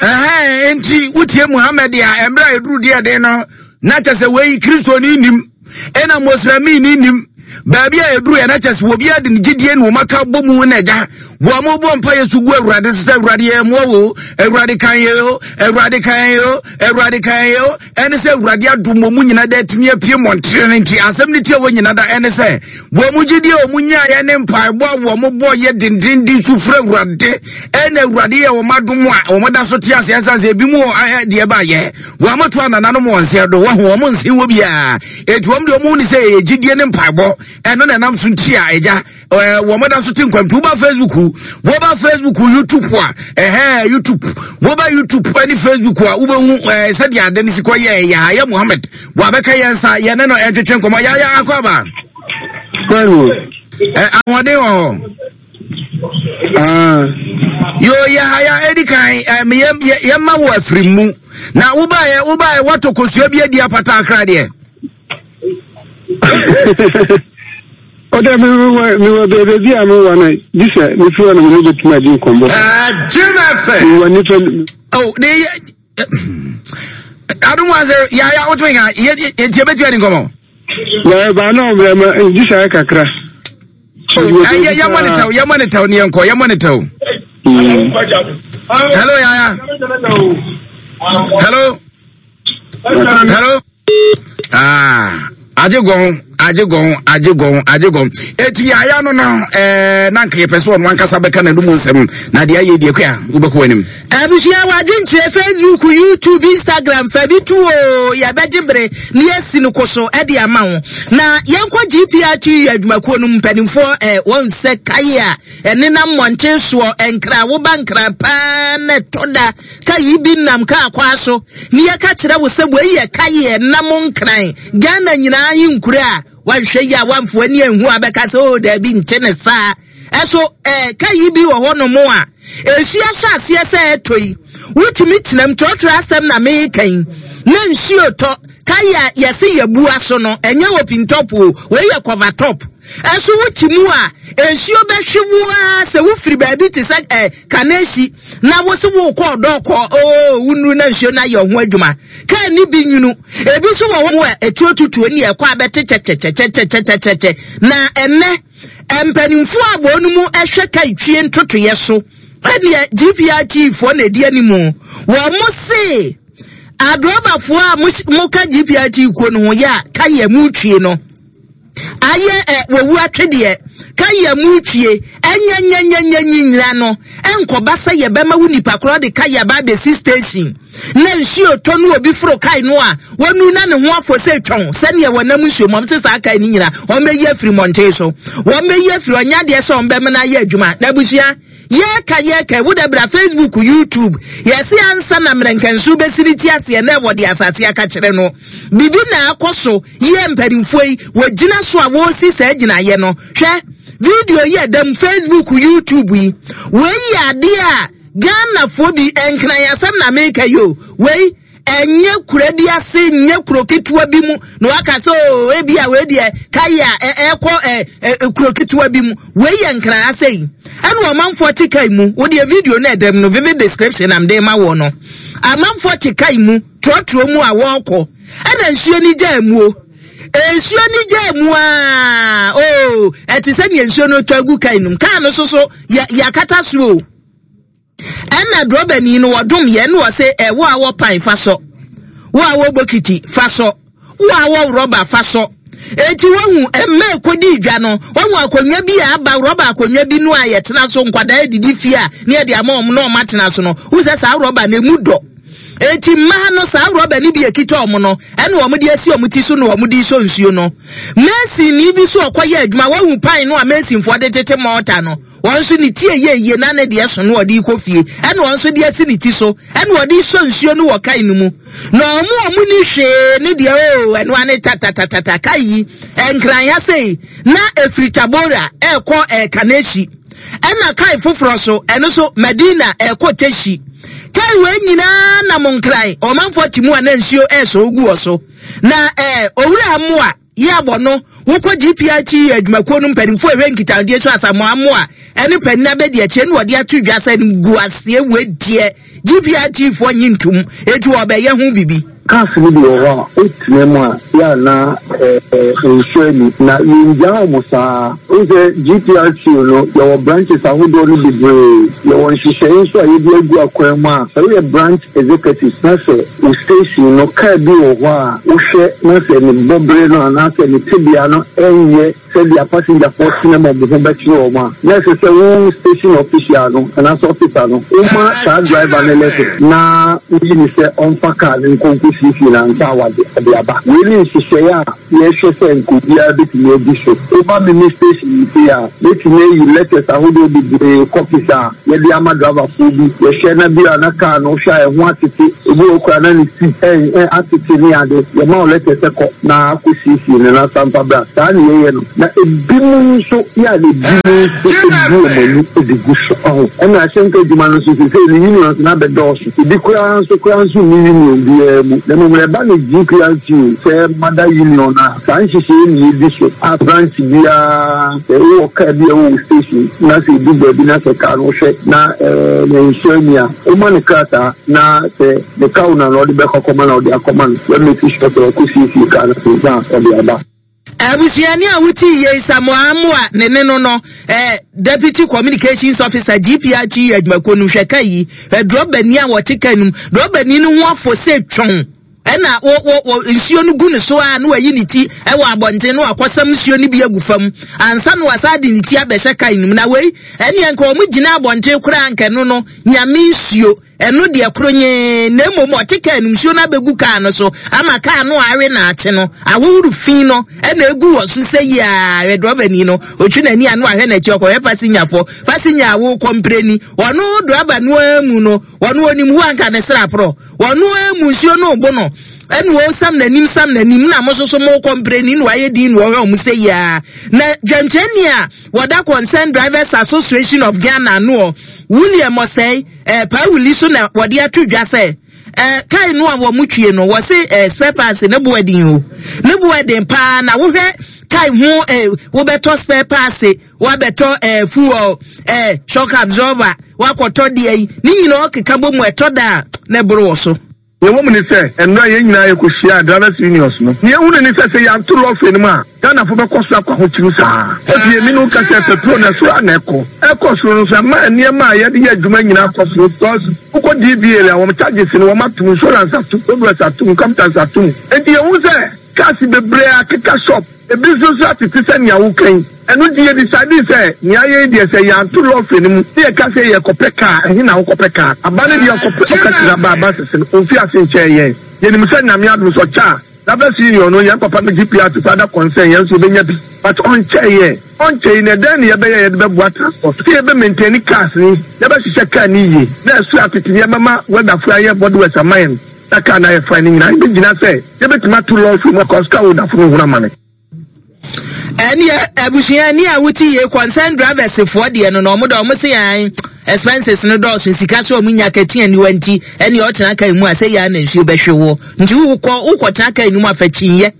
Ɛhɛn, enti wotie Muhammad a mmerɛ a ɛduru deɛ den no na kyɛ sɛ wei Kristoni nim ɛna Mosremini nim baabi a ɛduru yɛ na kyɛ sɛ obiara de ne gyidie na wɔn aka bɔ mu na agya wɔn mo bɔ mpa yɛ so gu awurade so sɛ awurade yɛ mmoa wo awurade kan yɛ o awurade kan yɛ o awurade kan yɛ o ɛne sɛ awurade adom wɔn mu nyina da atumi apue mmɔntere no nti asɛm no tia wɔn nyina da ɛne sɛ wɔn mu gyidie a wɔn nyaeɛ ne mpaebɔ a wɔn bɔ yɛ dendenden su frɛ awurade ɛna awurade yɛ wɔn adom a wɔn da so te ase ɛsan sɛ ebi mu wɔ deɛ baayɛ wɔn ato anananom wɔn nseɛ do wɔn wɔn nse wɔ biara etu wɔn deɛ wɔn ne sɛ ɛyɛ gyidie ne mpaebɔ. Ɛno na ɛnam so nti a agya ɛɛ wɔn da so te nkwa nti woba Facebook woba Facebook YouTube a ɛhɛn YouTube woba YouTube ɛne Facebook a wobɛhu ɛɛ sɛdeɛ ade no si kɔ yɛ Yahaya Muhammad wabɛka yɛn nsa yɛn ne no ɛntwetwe nkɔmɔ Yahaya akɔ aba. Ɛ ahoɔden wɔ hɔ. Ah. Yo Yahaya edi kan ɛɛ yɛ yɛ yɛma wɔ afiri mu na wobaeɛ wobaeɛ wɔtɔ kosua bi adi apata akra deɛ. Ɔdɛ mi wɔ mi wɔ beebi a mi wɔ no gye sɛ mi fi hɔ na mi ne betumi adi nkɔmbɔ. Mi wɔ nipa. Oh, ne yɛ adum wa sɛ yaya o tumi ka yɛ yɛ tiɛ bɛ tiɛ di nkɔmɔ. Na ba na ɔmɛ ma gye sɛ ayɛ kakra. Oh, yɛ yɛ mɔ ne tɛw yɛ mɔ ne tɛw ne yɛn kɔ yɛ mɔ ne tɛw. Hello yaya. Hello. Hello. Ah, agye gɔn agye gɔn agye gɔn agye gɔn eti yaya no no ɛɛ na nka yɛpɛ sɛ ɔno ankasa bɛka n'anum nsɛm na deɛ ayɛ deɛ kua wobɛkɔ anim. Abusua wadwenkyerɛ Facebook, YouTube, Instagram fa bi to o yɛbɛgye bere na yɛasi no koso de ama wo. Na yɛnkɔ GPRTU adwumakuo no mu mpanimfoɔ ɛ wɔn sɛ kae a ɛnenam mmɔnten soɔ nkra woba nkra paa na ɛtɔ da Ka yi bi nam kaa kwaa so ne yɛka kyerɛ wo sɛ wei yɛ kaeɛ nam nkran Ghana nyinaa ahenkuro a wanhwɛ yi a wamfo ani anhu a bɛka sɛ oh daabi nte ne saa. Ɛso eh, ka yi bi wɔ hɔ nom a nsuo ahyɛ aseɛ sɛ ɛtɔ yi wotumi tenam trɔtrɔ asɛm na meka yi na nsuo tɔ kae a yɛse yɛbua so no ɛnyɛ open top o wei yɛ cover top ɛso wote mu a nsuo bɛhwe wo ara sɛ wofiri baabi te sɛ eh, Kanehyi na wo se wokɔ ɔdɔ kɔ oo wonuru na nsuo no ayɛ ɔho adwuma kaa ni bi nwunu ebi nso wɔ hɔ a etuo tutuo ne ɛkɔ abɛte kyɛkyɛkyɛkyɛkyɛkyɛkyɛ na ɛnɛ mpanimfoɔ a wɔn mu ɛhwɛ ka twie ntotoeɛ so ɛneɛ GPRT foɔ na ɛdi anim wɔn mo se adrɔbafoɔ a mo ka GPRT kuo no ho yɛ a ka yɛ mo twie no Ayɛ ɛ wɔwu atwedeɛ ka yɛ mu twie ɛnyɛ nyɛ nyɛ nyɛ nyinyira no ɛnkɔba sɛ yɛbɛma wo nipa korɔ de ka yɛ aba abɛsi station na nsuo tɔ no obi foro kae no a wɔnu na ne ho afɔ sɛ twɔn sɛdeɛ wɔnam nsuo mu wɔn sɛ saa kae no nyina wɔn bɛyi afiri mmɔnten so wɔn bɛyi afiri ɔnyɛ adeɛ sɛ wɔn bɛmena ayɛ adwuma na abusua Yɛka yɛka wo da bra Facebook, YouTube. Yɛse ansa na mmerɛnkɛnso bɛsi ne ti aseɛ na ɛwɔ de asase aka kyerɛ no. Bibi na akɔ so yɛ mpanimfoɔ yi wɔgyina so a wɔresi saa gyinaeɛ no. Hwɛ video yi ɛda mu Facebook, YouTube yi. Wei yɛ adeɛ a Ghanafoɔ bi nkran asɛm na meka yi o. Wei Ɛnyɛ kura bi ase, nyɛ kuro ketewa bi mu na waka sɛ oo oh, ebi a wei deɛ kae a ɛkɔ ɛ kuro ketewa bi mu. Wei yɛ nkran ase yi. Ɛna ɔmanfoɔ te kae mu. Wo deɛ video no ɛdɛm no vivid description am de ma wɔ no. Amanfoɔ te kae mu, trɔtrɔ mu a wɔrekɔ. Ɛna nsuo ni gyaa muo. Nsuo ni gyaa mu aa oo ɛte sɛ nea nsuo no tɔ agu kae no mu. Kaa no soso yɛ yɛakata so o. Ɛna drɔbani no wɔdom yɛn na wɔse ɛ wo a wɔ pan fa sɔ, wo a wɔ bokiti fa sɔ, wo a wɔ rɔba fa sɔ. Enti wahu mma ɛkɔdi dwa no, wahu akonnwa bi a aba rɔba akonnwa bi no a yɛtena so nkwadaa adidi fie a ne yɛde ama wɔn na wɔn atena so no, wohu sɛ saa rɔba no emu dɔ. Enti mmaa no saa rɔba no bi ekita wɔn no ɛna wɔn de asi wɔn ti so na wɔn de sɔ nsuo no. Masonni bi so ɔkɔyɛ adwuma, wahu pan no a masonfoɔ de tete mɔɔta no. Wɔn nso ne ti ɛyɛ yie na ne deɛ so no ɔde rekɔ fie ɛna wɔn nso de asi ne ti so ɛna ɔde resɔ nsuo no wɔ kae no mu na wɔn a wɔn ni hwee ne deɛ oo ɛno ane tatatatata kae yi nkran ha sei na efiri Tabora ɛrekɔ ɛɛ Kanehyi ɛna kae foforɔ so ɛno so Madina ɛrekɔ Teshi kae wei nyinaa nam nkran ɔmanfoɔ te mu a na nsuo ɛresɔ ogu wɔ so na ɛɛ owura mmoa Yɛ abɔ no, wokɔ GPITU adwumakuo no mpanimfoɔ a ɛhwɛ nkitahodie so Asamoah Amoah ne panin abadiakyire na wɔde ato dwa sɛ animguaseɛ wei deɛ GPITU foɔ nye ntom enti wɔbɛyɛ ho biribi. Cars no bi wɔ hɔ a wotena mu a yɛ a na nsuo ani na yɛngyaa wɔn saa. Wohu sɛ GPRTU no yɛwɔ branches ahodoɔ no bebree. Yɛwɔ nhyehyɛeɛ nso a yɛde agu akwan mu a sɛ woyɛ branch executive na sɛ Wo station no, kaa bi wɔ hɔ a wohwɛ na sɛ ne bɔbere no anaasɛ ne tebea no nyɛ sɛdeɛ apasenjafoɔ tena mu a wɔn ho bɛkyere wɔn a, na ɛsɛ sɛ wo station official no anaasɛ officer no, woma saa driver no lɛtɛ na woyi no sɛ ɔmfa kaa no nkɔ nkɔsi. akɔsiesie no ansa a wɔde ɔde aba. Wei ne nhyehyɛeɛ a yɛhwɛ sɛ nka obiara bɛtumi adi so. Woba me me station yi sei a, mɛtumi ayi letters ahodoɔ bebree, copies a yɛde ama driverfoɔ bi. Yɛhwɛ na bi a na car no wohwɛ a ɛho atete, ebi wɔ hɔ koraa na ne seat ɛ ɛ atete ne ade. Yɛma wo letter sɛ kɔ na kɔsiesie no na san fa bra. Saa na yɛyɛ no. Na ebinom nso yɛ a na ebinom nso bu wɔn ani de gu so. Ɔho? Ɛna ahyɛnka adwuma no nso seesei no unions no abɛdɔɔso. Ebi koraa nso koraa nso nni union biara mu. Na mmom no ɛba no GPRTU sɛ mother union a, saa nhyehyɛeɛ na yɛdi so a branch biara sɛ wowɔ car bi a ɛwɔ wo station na sɛ ɛdu baabi na sɛ car no wohwɛ na ɛɛ ne nso ani a, woma no krataa na sɛ ne car owner na ɔde bɛkɔ akɔma no a ɔde akɔma no. Yɛ make sure sɛ wakɔsiesie car no ansa a ɔde aba. Abusuani a wotii yei Samoa Amoah ne ne no no eh, Deputy Communications Officer GPRTU adwumakuo no hwɛ ka yi hwɛ drɔbani a wɔte ka no mu drɔbani no ho afɔ sɛ twɔn ɛna wɔ wɔ wɔ nsuo no gu ne so a na wayi ne ti ɛwɔ abɔnten na wakɔsam nsuo no bi agu fam ansa na wasan de ne ti abɛhyɛ ka no mu na wei ɛneɛ nka wɔn gyina abɔnten koraa nka ɛno no nyame nsuo Ɛno deɛ koronyee, na mmom ɔte kaa no, nsuo no abɛgu kaa no so ama kaa no a awe na akye no, ahohoro fi no na ɛgu wɔ so sɛ yiaa. Hwɛ drɔbani no, ɔtwi n'ani ano ahwɛ n'akyi, ɔkɔhwɛ pasenyafoɔ, pasenya a wokɔ mprɛni, ɔno drɔba no ara mu no, ɔno ɔnim wo anka ne sraporɔ, ɔno ara mu nsuo no rebo no, ɛna ɔresam n'anim sam n'anim, na mo nso so mokɔ mprɛni na wayɛ din na ɔhwɛ wɔn sɛ yiaa. Na dwamkyerɛni a wɔda Concerned Drivers Association of Ghana anoɔ, William Osei, Eh, Pauli so na wɔde ato dwa sɛ, eh, kae no a wɔn twie no, wɔse eh, spare parts ne bo ɛden o. Ne bo ɛden paa na wohwɛ kae ho eh, wobɛtɔ spare parts, wabɛtɔ eh, fuel, eh, shock absorber, wakɔtɔ deɛ yi, ne nyinaa ɔkeka bɔ mu ɛtɔ da a na ɛboro wɔ so. Nea ɛwɔ mu ne sɛ, nnora yɛn nyinaa yɛkɔhyiaa Drivers Unions no. Nea yɛhunui ne sɛ, sɛ yɛanto lɔre no mu a, Ghanafo bɛkɔ so akɔ ahokyere saa. Afei me ne wo ka sɛ, pɛtrol no, ɛsoro ara na ɛkɔ. Ɛkɔ soro no nso, ɛma nneɛma a yɛde yɛ adwuma nyinaa kɔ soro because wokɔ DVLA a, wɔn charges no, wɔatom, insurance atom, roadworks atom, income tax atom. Enti yɛhu sɛ cars bebree akeka shop. Ebi nso nso atete sɛ nea woka yi. Ɛno nti yɛ decidee sɛ nea ayɛ yi deɛ sɛ yɛanto lɔre no mu na yɛka sɛ yɛrekɔpɛ kaa, ɛhe na wokɔpɛ kaa? Aba no deɛ ɔkɔpɛ ɔkasiri aba aba sese no, ɔmfii ase nkyɛɛ yɛn. Yɛnim sɛ Nyame adom sɛ ɔkyɛ a, Drivers Union no, yɛn papa no GPRT koraa da concern yɛn nso yɛbɛnya bi. But ɔnkyɛɛ yɛn. Ɔnkyɛ yi no ɛdɛn na yɛbɛyɛ a yɛde bɛboa transport? Sɛ yɛbɛ maintain cars no, yɛbɛhyehyɛ car no yie na ɛso atete na yɛbɛma weatherfoɔ ayɛ bodyworks ama yɛn. Na kaa no ayɛ fine no nyinaa ebegyina sɛ yɛbɛtumi ato lɔre mu akɔ sika wodafo no hunu amane. Ɛneɛ abusua ni a wote yie concern drivers foɔ deɛ no na ɔmo dɛ ɔmo se an expenses no dɔɔso sika so ɔmo nya kɛte aniwa nti ɛneɛ ɔtena kaa mu a sɛ yɛ na nsuo bɛhwe woɔ nti wokɔ wokɔ tena kaa no mu afa kyinyɛ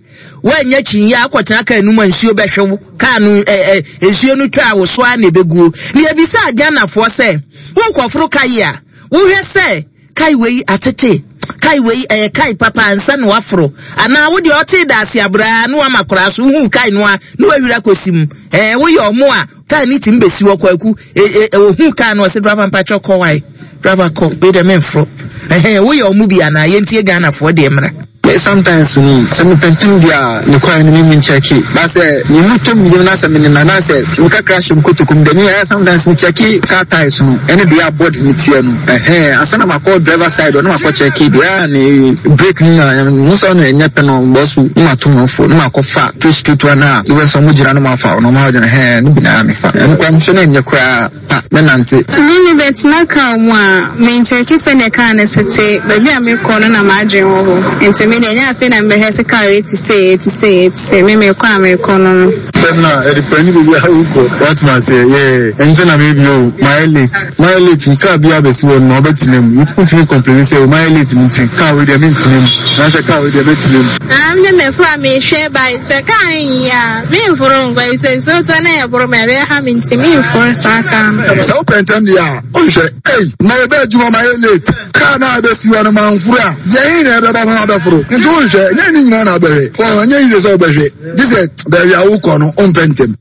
woanya kyinyɛ akɔtena kaa no mu a nsuo bɛhwe wo kaa no ɛ ɛ nsuo no twa a wo so a na ɛbɛguo na yɛbisa Ghanafoɔ sɛ wokɔforo ka yi a wohwɛ sɛ Kae wei atete, kae wei ɛyɛ kae papa ansa na waforo anaa wo deɛ ɔtee daase abraa na wama koraa so wohuu kae no a na wawira kɔsi mu ɛɛ woyɛ ɔmo a kae ne tumi bɛsi hɔ kwaku e e ohuu kae no ɔse driver mpakyɛ kɔ wae driver kɔ wei deɛ memforo ɛhɛn woyɛ ɔmo bi anaa yɛntie Ghanafoɔ deɛ mmra. Me sometimes no sɛ mepɛ ntɛm deɛ a nokware no me menkyɛke but sɛ me mu tɔ me yam na sɛ me nenam na sɛ me kakra hyɛ me kotoku mu deɛ me ɛyɛ sometimes me kyɛke car tyres no ɛne deɛ a body no teɛ no ɛhɛn ansa na makɔ driver side hɔ na makɔ kyɛke deɛ a ne brake no nyinaa mo sɛ ɔno ɛnyɛ pɛ no bɔ so na mato me fo na makɔ fa to straight one a wobɛ sɛ ɔmo gyina no mafa ɔno ɔmo agyina hɛn no bi na mefa ɛno koraa mehwɛ na ɛnyɛ koraa. a mɛnante. Me mebɛtena car mu a, menkyɛke sɛdeɛ car no se te, baabi a mekɔ no na m'adwene wɔ hɔ. Nti me deɛ ɛnyɛ afei na mebɛhwɛ sɛ car wei te sei, ɛte sei, ɛte sei, me mekɔ a mekɔ no no. Sɛm na ɛdepɛndi baabi a wokɔ. Woate aseɛ? Yeah. Ɛnkyɛ na maybe oh, mayɛ late. Mayɛ late no, car biara bɛsi hɔ no ma wobɛtena mu. Wontumi complaini sɛ oh, mayɛ late no nti, car wei deɛ mentena mu. Anaasɛ car wei deɛ mɛtena mu. Ah, me deɛ mɛforo a mehwɛ by sɛ car no nyɛ a. Memforo nkɔ yi sɛ nsuo tɔ na ɛboro me a ɛbɛha me nti memforo saa kaa no. Sɛ wopɛ ntɛm deɛ a wonhwɛ. Ei na yɛbɛ adwuma mayɛ late car no a ɛbɛsi hɔ no manforo a deɛ he na ɛbɛba ma mabɛforo nti wonhwɛ ɛnyɛ ne nyinaa na wobɛhwɛ wɔn ɛnyɛ easy sɛ wobɛhwɛ gye sɛ baabi a wokɔ no wompɛ ntɛm.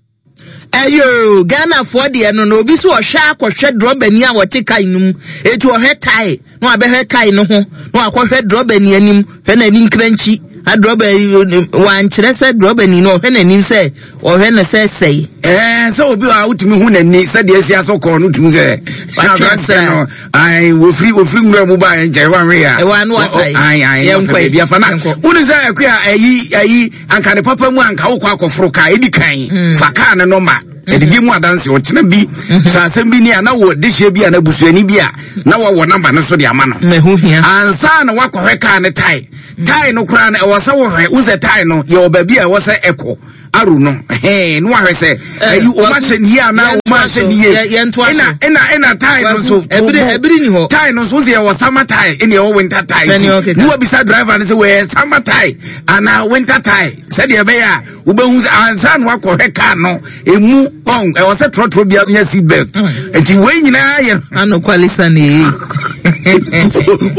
Ɛyoo Ghanafoɔ deɛ no na obi so ɔhwɛ akɔhwɛ drɔbani a wɔte kae no mu eti ɔhwɛ tae na wabɛhwɛ tae no ho na wakɔhwɛ drɔbani anim hwɛ n'ani nkrankyi. Adrɔba yi wankyerɛ sɛ drɔba ni no ɔhwɛ n'anim sɛ ɔhwɛ no sɛ sɛe. Ɛɛ sɛ obi a wotumi hu n'ani sɛdeɛ asi asɔ kɔɔ no wotumi sɛ aberanteɛ no ae wɔfiri wɔfiri nwura mu baa nkyɛn wanwe a ɛwɔ ano asae ae ae yɛnkɔ baabi afa na wone sɛ ɛkɔ a ayi ayi anka ne papa mu anka wokɔ akɔforo kaa ɛdi kan mm. fa kaa ne nɔmba ɛdidi mu adanse ɔkyena bi mm-hmm. sɛ asɛm bi ni a na wɔ dehyeɛ bi a na busuani bi a na wɔwɔ namba no so de ama no ansa na wakɔhwɛ kaa ne tae tae no koraa no ɛwɔ sɛ wohwɛ wo sɛ tae no yɛwɔ baabi a ɛwɔ sɛ ɛkɔ aro no hɛn no wahwɛ sɛ ɛyi wɔn ahyɛ ne yie anaa wɔn ahyɛ ne yie ɛna ɛna ɛna tae no nso tobo tae no nso sɛ yɛwɔ summer tae ɛna yɛwɔ winter tae ti ne wabisa driver no sɛ wɔyɛ summer tae anaa winter tae sɛdeɛ ɛbɛyɛ a wobɛhu sɛ ansa na wakɔhwɛ kaa no emu ɔn ɛwɔ sɛ trɔtrɔ bi anya seat belt mm. nti wei nyinaa yɛ. anokwale sa na eyi.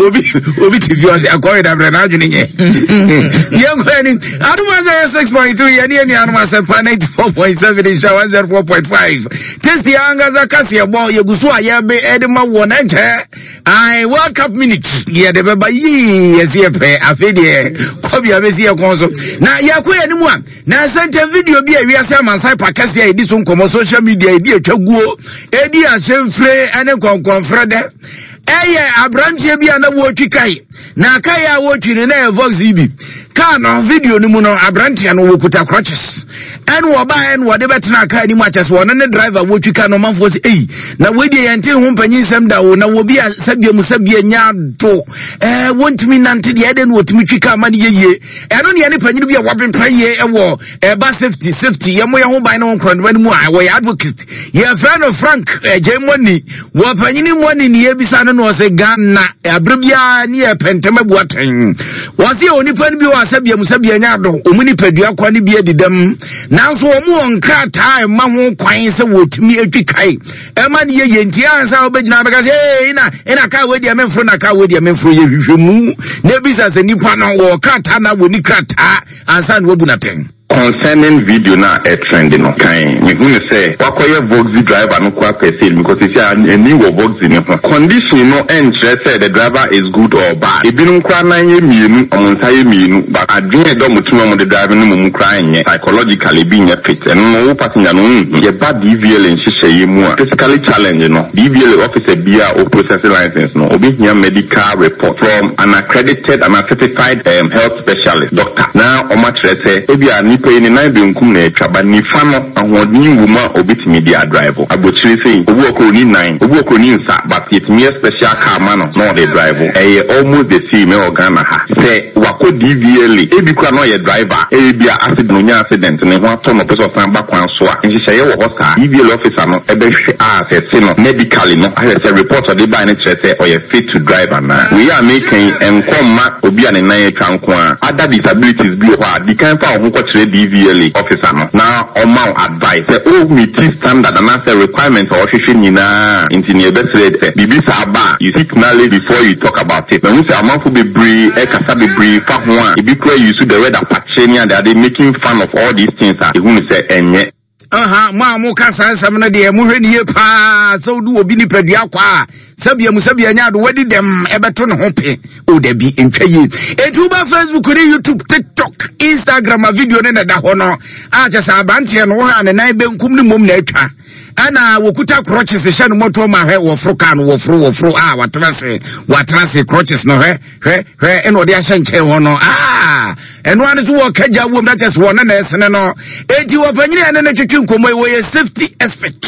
obi obi ti fi ɔsɛ akɔre dabrɛ n'adwene nyɛ. yɛn kɔ ɛni adum asɛ yɛ 6.3 yɛn ni yɛn nuanom asɛmpa 94.7 nhyira 104.5 tesi ankasa kaseɛ bɔ yɛgu so a yɛbe ɛde ma wɔ n'ɛnkyɛ ayi world cup minute yɛde bɛba yii yɛsi yɛ pɛ afei deɛ kɔbi a bɛsi yɛ kɔn so na yɛkɔ yɛn anim a. Na nsɛntɛm video bi a wiase amansan pa kɛse a yɛdi so nkɔmmɔ social media yɛdi atwa guo ɛdi ahyɛmfire ne nkɔnkɔnfrɛ dɛ ɛyɛ aberanteɛ bi a na wɔretwi kae na kae a wɔretwi no na ɛyɛ vox yi bi kaa no video no mu no aberanteɛ no wɔkuta crutches ɛne wɔbaeɛ no wɔde bɛtena kaa anim akyɛ sɛ wɔne ne driver wɔtwi ka no ɔmanfoɔ sɛ ei na wɔadie yɛnte ho mpanyin nsɛm da o na wɔbi a sɛbia mu sɛbia nya ado ɛɛ wɔntumi nante deɛ ɛdɛ no wɔtumi twi kaa ma no yɛyie ɛno ne ɛne panyin bi a wabempa yie wɔ ɛba safety safety yɛn mo yɛn ho ban ne ho nkorɔnoma no mu a wɔyɛ advocate yɛfrɛ no frank ɛgye mɔni wɔ panyin mɔni ne yɛbisa no na ɔsɛ ghana abere biara ne yɛ pɛntɛm abu atɛn wɔsi yɛ onipa no bi wɔ asɛbea mu sɛbea nya ado wɔn nipadua kwan no bi adi dɛm nanso wɔn wɔ nkrataa ɛma ho kwan sɛ wɔtumi atwi kae ɛma no yɛ yie nti ansa wobɛgyina bɛka sɛ ee na ɛna kaa wei deɛ memforo na kaa wei deɛ memforo yɛ hwehwɛ mu na ebisa sɛ nipa no wɔ krataa na wɔni krataa ansa na wabu n'atɛn. Concerning video no a ɛtrend no, kan mehu no sɛ wakɔyɛ voxy driver no koraa per se because seesei a ani wɔ voxy no ho. Condition no nkyerɛ sɛ the driver is good or bad. Ebinom koraa nan yɛ mmienu, wɔn nsa yɛ mmienu but adwene a ɛda wɔn tirim a wɔde drive no mmom koraa nyɛ psychologically ebi nyɛ fit. Ɛno no wo passenger no wonhu. Yɛba DVLA nhyehyɛeɛ mu a, physically challenge no, DVLA officer biara a ɔprocess license no, ɔbɛhia medical report from an accredited anaa certified um, health specialist, doctor, na wɔakyerɛ sɛ ebia nipa yi ne nan benkum na atwa but nifa no ahoɔden wɔ mu a ɔbɛtumi de adrive. Abokyire sei, obi wɔ kora ɔnni nan, obi wɔ kora ɔnni nsa but yɛtumi yɛ special car ma no na ɔde drive. Ɛyɛ almost the same ɛwɔ Ghana ha. Sɛ wakɔ DVLA, ebi koraa na ɔyɛ driver, ebia accident, ɔnya accident, ne ho atɔ no ɔpɛ sɛ ɔsan ba kwan so a, nhyehyɛeɛ wɔ hɔ saa. DVLA officer no bɛhwɛ asɛse no medically no ahwɛ sɛ report a ɔde baeɛ no kyerɛ sɛ ɔyɛ fit to drive anaa. Wei a mereka yi, ɛnkɔ mma obi a ne nan atwa nko ara. Other disabilities bi wɔ hɔ a, di kan fa wo ho kɔkyerɛ DVLA officer no na ɔmma wo advice sɛ wo meeti standard anaasɛ requirement a ɔhwehwɛ nyinaa a. Nti nea yɛbɛsrɛ sɛ biribi saa ba a, you seek knowledge before you talk about it. Mahu sɛ amanfo bebree ɛkasa bebree fa ho a, ebi koraa use the word apakye ne adeade making fun of all these things a, yɛhu no sɛ ɛnyɛ. Aha, mo a moka saa nsɛm no deɛ mohwɛ ne yie paa sɛ wode obi nipadua kɔ a sɛbia mu sɛbia nya ado wadi dɛm ɛbɛto ne ho pe o dabi ntwa yie enti woba facebook ne youtube tiktok instagram a video ne na ɛda hɔ no a kyɛ sɛ abanteɛ no wohɛ a ne nan benkum ne mmom na atwa ɛna wɔkuta crutches hyɛ no mmɔtoɔ ma hwɛ wɔforo kaa no wɔforo wɔforo a watena se watena se crutches no hwɛ hwɛ hwɛ ɛna ɔde ahyɛ nkyɛn hɔ no aa ɛno ano so wɔka gya wom na kyɛ sɛ wɔne na ɛsene no enti wɔpanyini ɛne no twetwe nkɔmmɔ yi wɔyɛ safety expert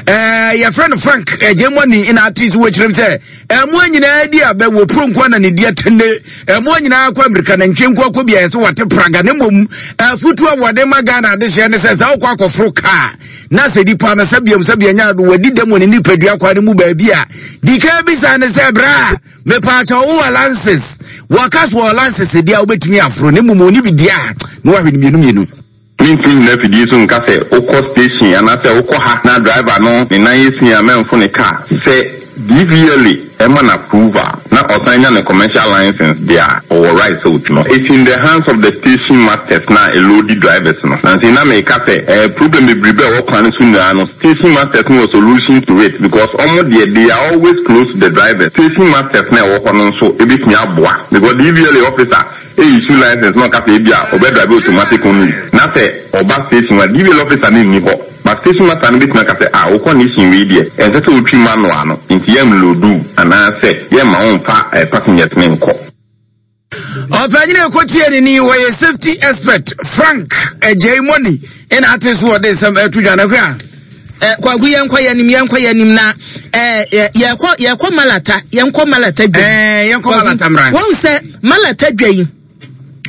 ɛɛ yɛfrɛ no frank ɛgyemɔni ɛna ate so wɔkyerɛm sɛ ɛmoa nyinaa di abɛ wɔ puro nko na ne di atene ɛmoa nyinaa kɔ amirika na ntwe nko akɔ bi a yɛsɛ wɔte praga ne mmom afutu a wɔde ma ghana adehyeɛ ne sɛ sɛ wokɔ akɔforo kaa na sɛ nipa no sɛ biam sɛ bianya ado wɔadi dɛm wɔ ne nipadua kwa no mu baabi a di kan bisa ne sɛ bra Mepaakyɛw wo wɔ lances? Wɔka so wɔ lances deɛ a wobɛtumi aforo na mmom ɔni bi deɛ a na wahwɛ no mmienu mmienu. Mentumi nnyina afidie so nka sɛ wokɔ station anaasɛ wokɔ ha na driver no ne nan yɛ sin a mɛmfo ne car. Sɛ DVLA. ɛma no approval na ɔsan nya ne commercial license deɛ a, ɔwɔ right sɛ ɔtu no. It's in the hands of the station masters no a ɛloadi drivers no. Nansa yi na meka sɛ eh, problem bebrebe a ɛwɔ kwan no so nyinaa no, station masters no wɔ solution to it because wɔn deɛ they are always close to the drivers. Station masters no a ɛwɔ hɔ no nso bɛtumi aboa because DVLA officer issue license na ɔka sɛ ebia ɔbɛ drive automatic only na sɛ ɔba station hɔ a DVLA officer no nni hɔ but station master no bɛtumi aka sɛ ah wo condition wei deɛ ɛnsɛ sɛ wotwi manual no nti yɛn load wo anaasɛ yɛmma wo mfa passengers no nkɔ. Ɔpanyin a ɛkɔtie ne ni wɔyɛ safety expert Frank Agyei Money ɛna ate so wɔde nsɛm ɛto dwa no hwɛ a. Eh, kwaku yɛnkɔ yɛnim yɛnkɔ yɛnim na eh, yɛkɔ yɛkɔ malata yɛnkɔ malata dwa eh, yɛnkɔ malata mmra wɔn sɛ malata dwa yi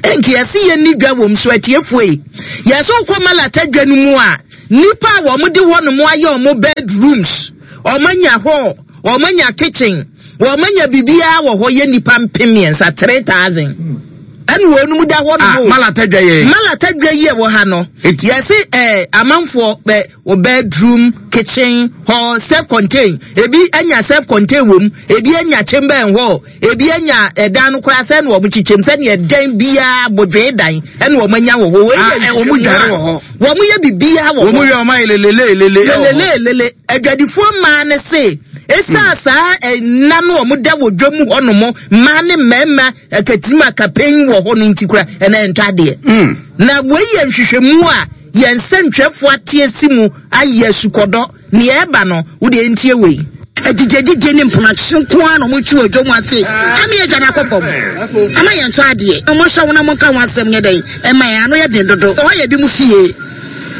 nka yɛsi yɛn ni dwa wɔm so atiefoɔ yi yɛsɛ wokɔ malata dwa no mu a nipa a wɔn de hɔ nom ayɛ wɔn bedrooms wɔn anya hall wɔn anya kitchen wɔn anya biribiara wɔ hɔ yɛ nipa mpem mmiɛnsa 3000 ɛna wɔn mu da hɔ nom ah, malata dwa yɛ malata dwa yi ɛwɔ ha no yɛsi ɛɛ amanfoɔ bɛ wɔ bedroom kitchen hall self contained ebi anya self contained wɔ mu ebi anya chamber and hall ebi anya ɛdan no koraa sɛ ɛna wɔn kyekyɛm sɛnea ɛdan biara bodwee dan ɛna wɔn anya wɔ hɔ wɔn ah, yɛ wɔn dware wɔ hɔ wɔn yɛ bibiara wɔ hɔ wɔn yɛ wɔn ayɛ lelele lele lelele lele adwadifoɔ mmaa ne se esaa hmm. saa ɛna no wɔn da wɔ dwam hɔ nom mmaa ne mmarima akatirim akapɛn wɔ hɔ no nti kora ɛna ɛntɔ adeɛ hmm. na wei yɛ nhwehwɛmu a Yɛn nsɛntwerɛfoɔ ate asi mu ayɛ asukɔdɔ. Nea ɛreba no, wo deɛ ntie wei. Agyigyagyigye ne mponakye nko ara na wɔtwi wɔ dwom ase ama yɛadwane akɔ fam ama yɛntɔ adeɛ. Monhwɛ ho na monka ho asɛm nyɛ dɛn mma yɛn, ano yɛ den dodo. Ɛhɔ yɛ ebinom fie.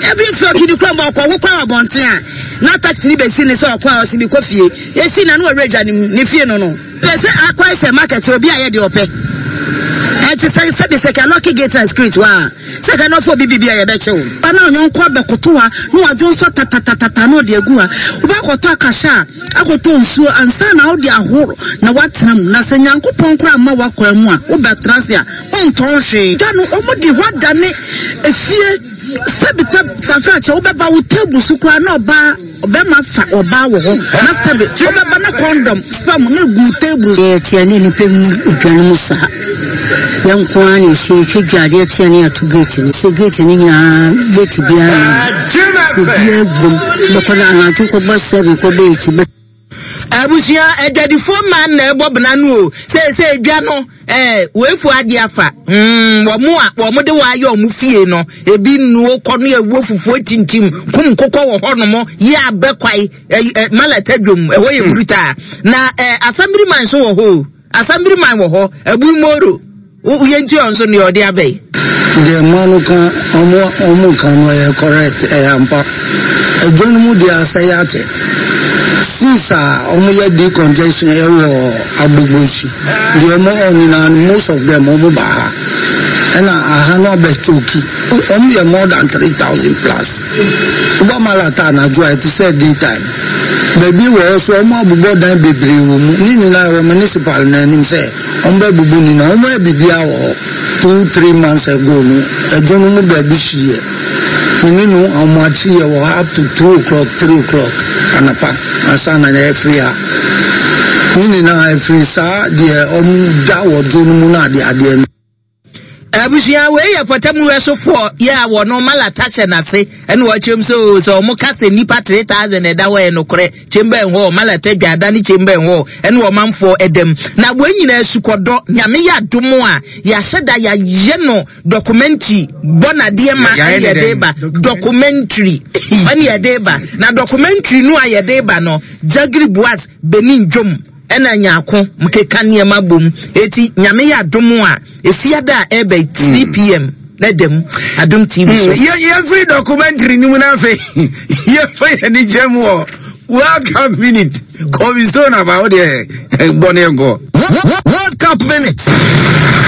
Ebi nso afi ne kurom ɔkɔ ho kwan wɔ abɔnten a, na taxi no bɛsi no sɛ ɔkɔ a ɔse mekɔ fie. Yɛsi no a na ɔwerɛ adwane mu, ne fie no no. Pɛ sɛ akɔyɛ sɛ market obi ayɛ deɛ ɔpɛ. Ɛnti sɛ sɛbi sɛ kɛ lucky gate na security hɔ a sɛ kɛ nɔfo obi bibi a yɛbɛkye wo. Ba na ɔnyɔnko abɛkoto ha na wadwo nsɔ tatatatata na ɔde agu ha. Wobɛakɔtɔ akahyɛ a, akɔtɔ nsuo ansa na wode ahoro na woatena mu. Na sɛ Nyankopɔn koraa mma w'akwan mu a, wobɛtena ase a, wontɔn hwee. Da no, wɔde hɔ adane efie. Sɛbi tafrakyɛ, wobɛba wo table so koraa na ɔbaa. Ɔbɛma fa ɔbaa wɔ hɔ na sɛbe ɔbɛba na kɔndɔm, sperm no egu table. Yɛ tia ne nipa mu odwa no mu saa. Yɛn nko ara na yɛhyia yɛtwa dwa adeɛ kye a ne yɛato gate no. Sɛ gate no nyinaa gate biara nni hɔ. Nti obiara guam bɛkɔ no anadwo kɔbɔ 7 kɔbɔ 8 bɛ. Abusua adwadifoɔ mmaa na ɛbɔ bena no o seesei dwa no ɛɛ weifo agye afa mm wɔn a wɔn de wɔayɛ wɔn fie no ebi nnuo kɔ no ɛwɔ fufuo tintim kum kokɔ wɔ hɔ nom yɛ abɛ kwae ɛ ɛ malata dwom ɛhɔ yɛ brutaa na ɛ asambiriman nso wɔ hɔ o asambiriman wɔ hɔ abumoro. Wo yɛ nti ɔnso nea ɔde aba yi. Deɛ mmaa no ka ɔmo ɔmo ka no ɛyɛ correct ɛyɛ ampa ɛdwa no mu deɛ asɛe akyɛ since a ɔmo yɛ decongestion ɛwɔ agbogbosi deɛ ɔmo ɔ nyinaa no most of them ɔmo ba ha ɛna aha no abɛ choki ɔmo yɛ more than 3000 plus woba malata anadwo a ɛte sɛ day time baabi wɔ hɔ so ɔmo abobɔ dan bebree wɔ mu ne nyinaa ɛwɔ municipal no anim sɛ Wɔbɛbubu ne nan. Wɔyɛ biribiara wɔ hɔ. 2, 3 months ago no, ɛdwo no mu baabi hyeeɛ. Me ne no ahomakye yɛ wɔ ha up to 2 o'clock, 3 o'clock anapa ansa na yɛafiri ha. Ne nyinaa ɛfiri saa deɛ wɔda wɔ dwo no mu no adeadeɛ no. Abusua wei yɛ pɔtam wɛsofoɔ yɛ a wɔno malata hyɛ n'ase ɛna wɔkyerɛm sɛ o sɛ wɔn ka sɛ nnipa 3000 ɛda hɔ yɛ nokorɛ chamber and hall malata dwa ada ne chamber and hall ɛne ɔmanfoɔ ɛdam na wɔn nyinaa sukɔdɔ nyame yɛ adom a yɛahyɛ da yɛayɛ no documentary bɔ nadeɛ ma ɛne yɛde ba documentary ɛne yɛde ba na documentary no a yɛde ba no Jagiri Boas Benin dwom Ɛna nyako mkeka nneɛma bom eti nyame yɛ adom a efiada a ɛɛba yi 3 pm na da mu adom tv so. Yɛfiri documentary no mu no afei yɛfa yɛn ani gyam wɔ World Cup minute Kobe Stone aba wo deɛ bɔ ne nkɔ. World Cup minute.